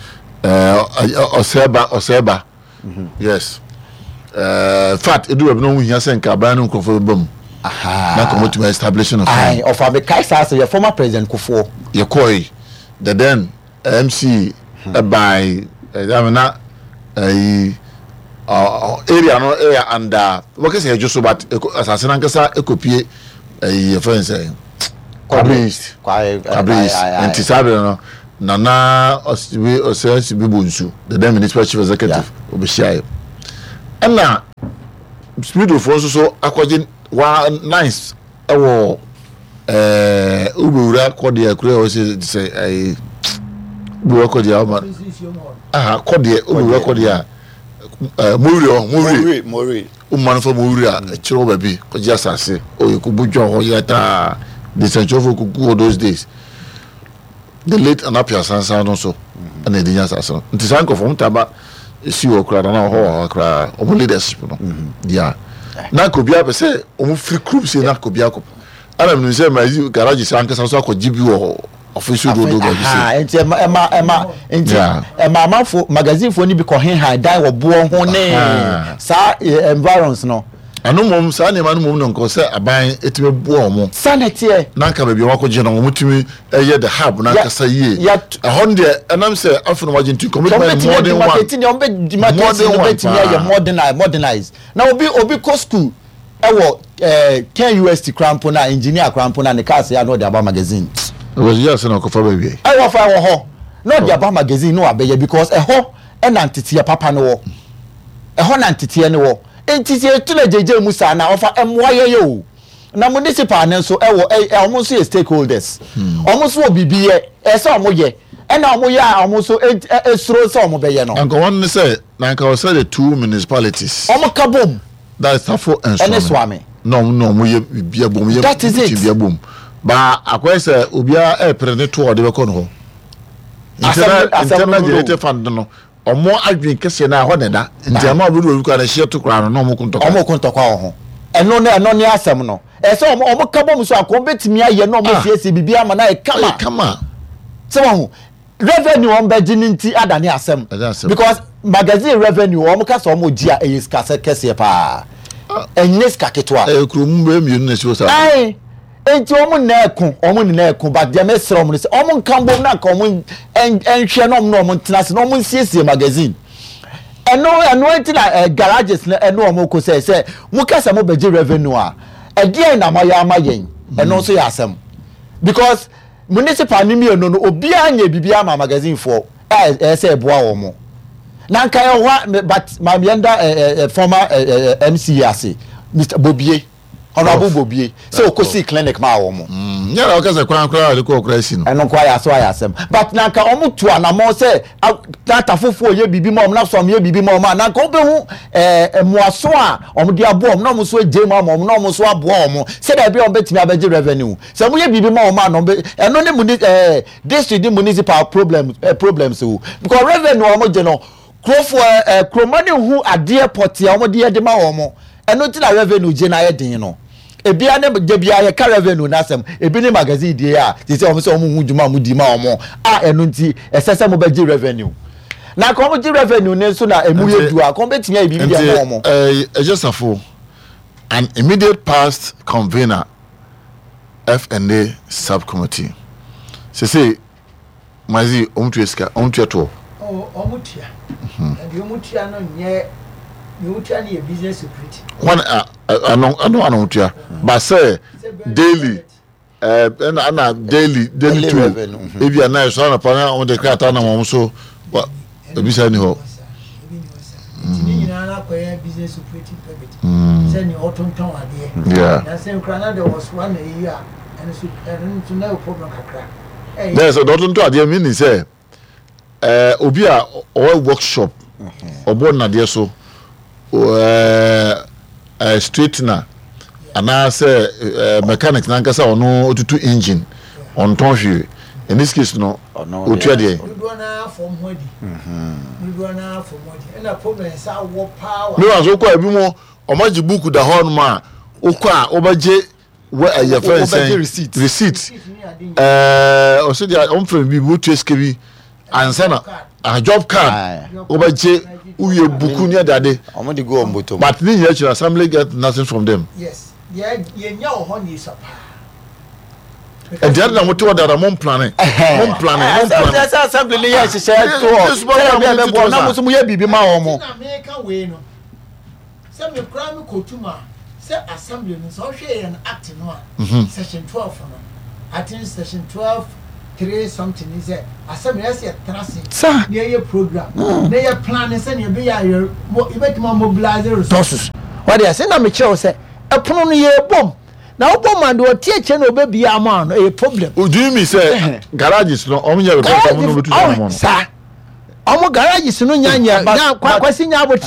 Ɛɛ ɔsɛɛba ɔsɛɛba yes ɛɛ fact edu baabi na ɔho hia sɛ nka aban no nkurɔfoɔ bɛba mu na nka wɔtumi establish no fine. Ɔfa mekae saa sɛ yɛ former president Kufuor. Yɛkɔe the then MC ɛbae ɛdame na ɛyi area no ɛyɛ under wɔkɛ sɛ ɛdwo so but asase no ankasa ɛkɔpie ɛyi yɛfrɛ no sɛ Kwabre East Kwabre East nti saa berɛ no Nana Ɔsibi Ɔsɛnsibi Bonsu the then municipal chief executive ɔbɛhyiaeɛ ɛna Smidofoɔ nso so akɔgye wa nice ɛwɔ ɛɛ wobɛwura kɔdeɛ kuro a wɔsɛ sɛ ɛyi wobɛwura kɔdeɛ ɔma aha kɔdeɛ wobɛwura kɔdeɛ a ɛɛ mowiri hɔ mowiri mowiri woma no fa mowiri a ɛkyerɛ wɔ baabi kɔgye asase ɔyɛ kɔbɔ dwa hɔ yɛ taa de sɛnkyerɛfoɔ kɔgu hɔ those days the late Anapia Sansan no so ɛna ɛde nya asase no nti saa nkurɔfoɔ wɔn taa ba esi hɔ koraa na ɔhɔ wɔ hɔ koraa wɔn leadership no yeah na nka obiara pɛ sɛ wɔn firi kurom sei na nka obiara kɔ ɛna menim sɛ ma garage sɛ ankasa nso akɔgye bi wɔ ɔfisi dodo baabi sei nti ɛma ɛma ɛma nti ɛma amanfo magazine foɔ no bi kɔ hehan dan wɔ boɔ ho ne saa environs no. Ɛno mmom, saa nneɛma no mmom na nka sɛ aban tumi boa wɔn. Saa na ɛteɛ. Na nka baabi a wɔakɔgye no, wɔtumi yɛ the hub no ankasa yie. Ɛhɔ no deɛ, ɛnam sɛ afei na wɔagye nti, nka wɔbɛtumi ayɛ modern one. Wɔbɛtumi demarcation no bɛtumi ayɛ modern modernize. Na obi obi kɔ school ɛwɔ ɛɛ KNUST koraa mpo na engineer koraa mpo na ne cars yɛ a na ɔde aba magazine. Ɔbɛgye ase na ɔkɔfa baabi. Ɛwɔ fa ɛwɔ hɔ na ɔde aba magazine na wabɛyɛ because ɛhɔ ɛna nteteɛ papa no wɔ. Ɛhɔ na nteteɛ no wɔ. Nti sɛ yɛtu no agyagya mu saa no a, ɔfa mmoa yɛyɛ o. Na municipal no nso ɛwɔ ɛ ɛ wɔn nso yɛ stakeholders. Wɔn nso wɔ biribi yɛ, ɛsɛ sɛ wɔn yɛ. Ɛna wɔn yɛ a wɔn nso ɛ ɛ esuro sɛ wɔn bɛyɛ no. Anka wɔn ne sɛ, na anka ɔsɛ the two municipalities. Wɔn ka bom. That is Tafo and Suame. Ɛne Suame. Na wɔn na wɔn yɛ biribi abom, yɛ That is it. biribi abom. Ba akɔyɛ sɛ obiara ɛɛpere ne to a ɔde bɛkɔ no hɔ. Asɛm no asɛm no Internal generated fund no. Ɔmo adwene kɛseɛ no ara ɛhɔ na ɛda. Nti ɛma obi de obi koraa no ɛhyeɛ to koraa no na ɔmo ko ntɔkwa. Ɔmo ko ntɔkwa wɔ ho. Ɛno ne ɛno ne asɛm no. Ɛsɛ sɛ ɔmo ɔmo ka bom so a nka ɔmo bɛtumi ayɛ na ɔmo asiesie biribi ama no ayɛ kama. Ayɛ kama. Sɛ wahu. Revenue ɔmo bɛgye no nti adane asɛm. Ɛnyɛ asɛm. Because magazine revenue ɔmo ka sɛ ɔmo gye a ɛyɛ sika sɛ kɛseɛ paa. Ɛnyɛ sika ketewa. Ɛyɛ kurom bɛyɛ mmienu na ɛsi hɔ saa. Ae. Enti wɔn nyinaa ɛko, wɔn nyinaa ɛko, but deɛ mesrɛ wɔn no sɛ wɔn nka mbom na nka wɔn nhwɛ na wɔn na wɔn ntena ase na wɔn nsiesie magazine. Ɛno ɛno nti na eh, garages no ɛne wɔn ko sɛ sɛ mo kasa mo bɛgye revenue a ɛdeɛn na moayɛ ama yɛn ɛno nso yɛ asɛm because municipal ne mmienu no obiara nyɛ biribi ama magazine foɔ a ɛyɛ sɛ ɛboa wɔn na nka ɛhɔ a but maame yɛn da ɛ ɛ former ɛ ɛ MC ase Mr Bobie. Honourable Bobie sɛ ɔkɔsii clinic maa wɔn. Mm, nyɛ na ɔka sɛ kwan koraa a ɔde kɔɔ koraa si no. Ɛno nko ayɛ aso ayɛ asɛm. But na nka wɔn tu anamɔn sɛ na atafofoɔ yɛ biribi ma wɔn na sɔm yɛ biribi ma wɔn a na nka wɔbɛhu ɛɛ mmoaso a wɔn de aboa wɔn na wɔn nso agye mu ama wɔn na wɔn nso aboa wɔn sɛdeɛ ɛbɛyɛ wɔn bɛtumi abɛgye revenue. Sɛ wɔn yɛ biribi ma wɔn a na wɔn bɛ ɛno ne muni ɛɛ district ne municipal problem ɛɛ problems o because revenue a wɔn gye no Kurofoɔ ɛ kuroma no nhu adeɛ pɔtee a wɔde yɛ de ma wɔn. Ɛno nti na revenue gye no ayɛ den no. Ebia ne da biara yɛka revenue no asɛm, ebi ne magazine die a te sɛ wɔn sɛ wɔn nhu dwuma a wɔdi ma wɔn a ɛno nti ɛsɛ sɛ mobɛgye revenue. Na nka wɔn gye revenue no nso na emu yɛ du a, nka wɔn bɛtumi ayɛ biribi de ama wɔn. Nti ɛɛ Safo, an immediate past convener F&A subcommittee, sese Mazi, wɔn tua sika, wɔn tua toɔ. Oh, wɔn tua. Mhm. Na deɛ wɔn tua no nyɛ, deɛ wɔn tua no yɛ business security. Wɔn a ano ano ano wɔn tua, ba sɛ daily ɛɛ ɛna ɛna daily daily two mhm. ebi a na ɛsɔ anapa na wɔn de krataa nam wɔn so wa ebi sa ni hɔ. Nti ne nyinaa no akɔyɛ business operating permit. Mm. Sɛ nea ɔtontɔn adeɛ. Yeah. Na sɛ nkura na de wɔ so ana eyi a ɛno so ɛno nso na ɛwɔ problem kakra. Dɛ sɛ dɔto ntɔ adeɛ meaning sɛ ɛɛ obi a ɔwɔ workshop ɔbɔ nnadeɛ so ɛɛ ɛɛ straightener anaasɛ ɛɛ mechanic nankasa ɔno otutu engine ɔntɔn hwee in this case no otua deɛ. Dodoɔ naa fam ho adi. Dodoɔ naa fam ho adi ɛna problem nsa awɔ paa wɔ. Mi wa so kɔ ebi mo ɔmo agye book da hɔ nom a wokɔ a wobɛgye. wɛ ɛyɛ fɛn sɛn receipt receipt ɛɛ ɔsɛ deɛ ɔmo fɛn bi wotua sika bi ansa na. Ah, job card wobɛgye wowie buku ne adade. Wɔn de gu wɔn bɔtɔ mu. But ne nyinaa akyi no assembly get nothing from them. Yes, yɛ yɛnya wɔ hɔ na esua paa. Ɛdi adi na mo te hɔ dada mo mplane mo mplane mo mplane. Ɛsɛ sɛ assembly ne yɛ nhyehyɛ to hɔ sɛdeɛ bi a ɛbɛboa na mo nso mo yɛ biribi ma wɔn mo. Nti na meka wei no sɛ me koraa me kɔtu mu a sɛ assembly no sɛ ɔhwɛ yɛn act no a section 12 no I think section 12 3 something ni sɛ assembly ɛsɛ yɛ tena ase na yɛyɛ program na yɛ plan sɛ nea ɛbɛyɛ a yɛ yɛbɛtumi a mobilize resources. Wɔde ase na mekyerɛ wo sɛ ɛpono no yɛbom na wobɔ ma deɛ ɔte akyire na ɔbɛbie ama no ɛyɛ problem. O do you mean sɛ garages no ɔmo nyɛ repairs ɔmo na ɔmo tu saa mo no. Saa ɔmo garages no nya nya nya kwasi nya abotire.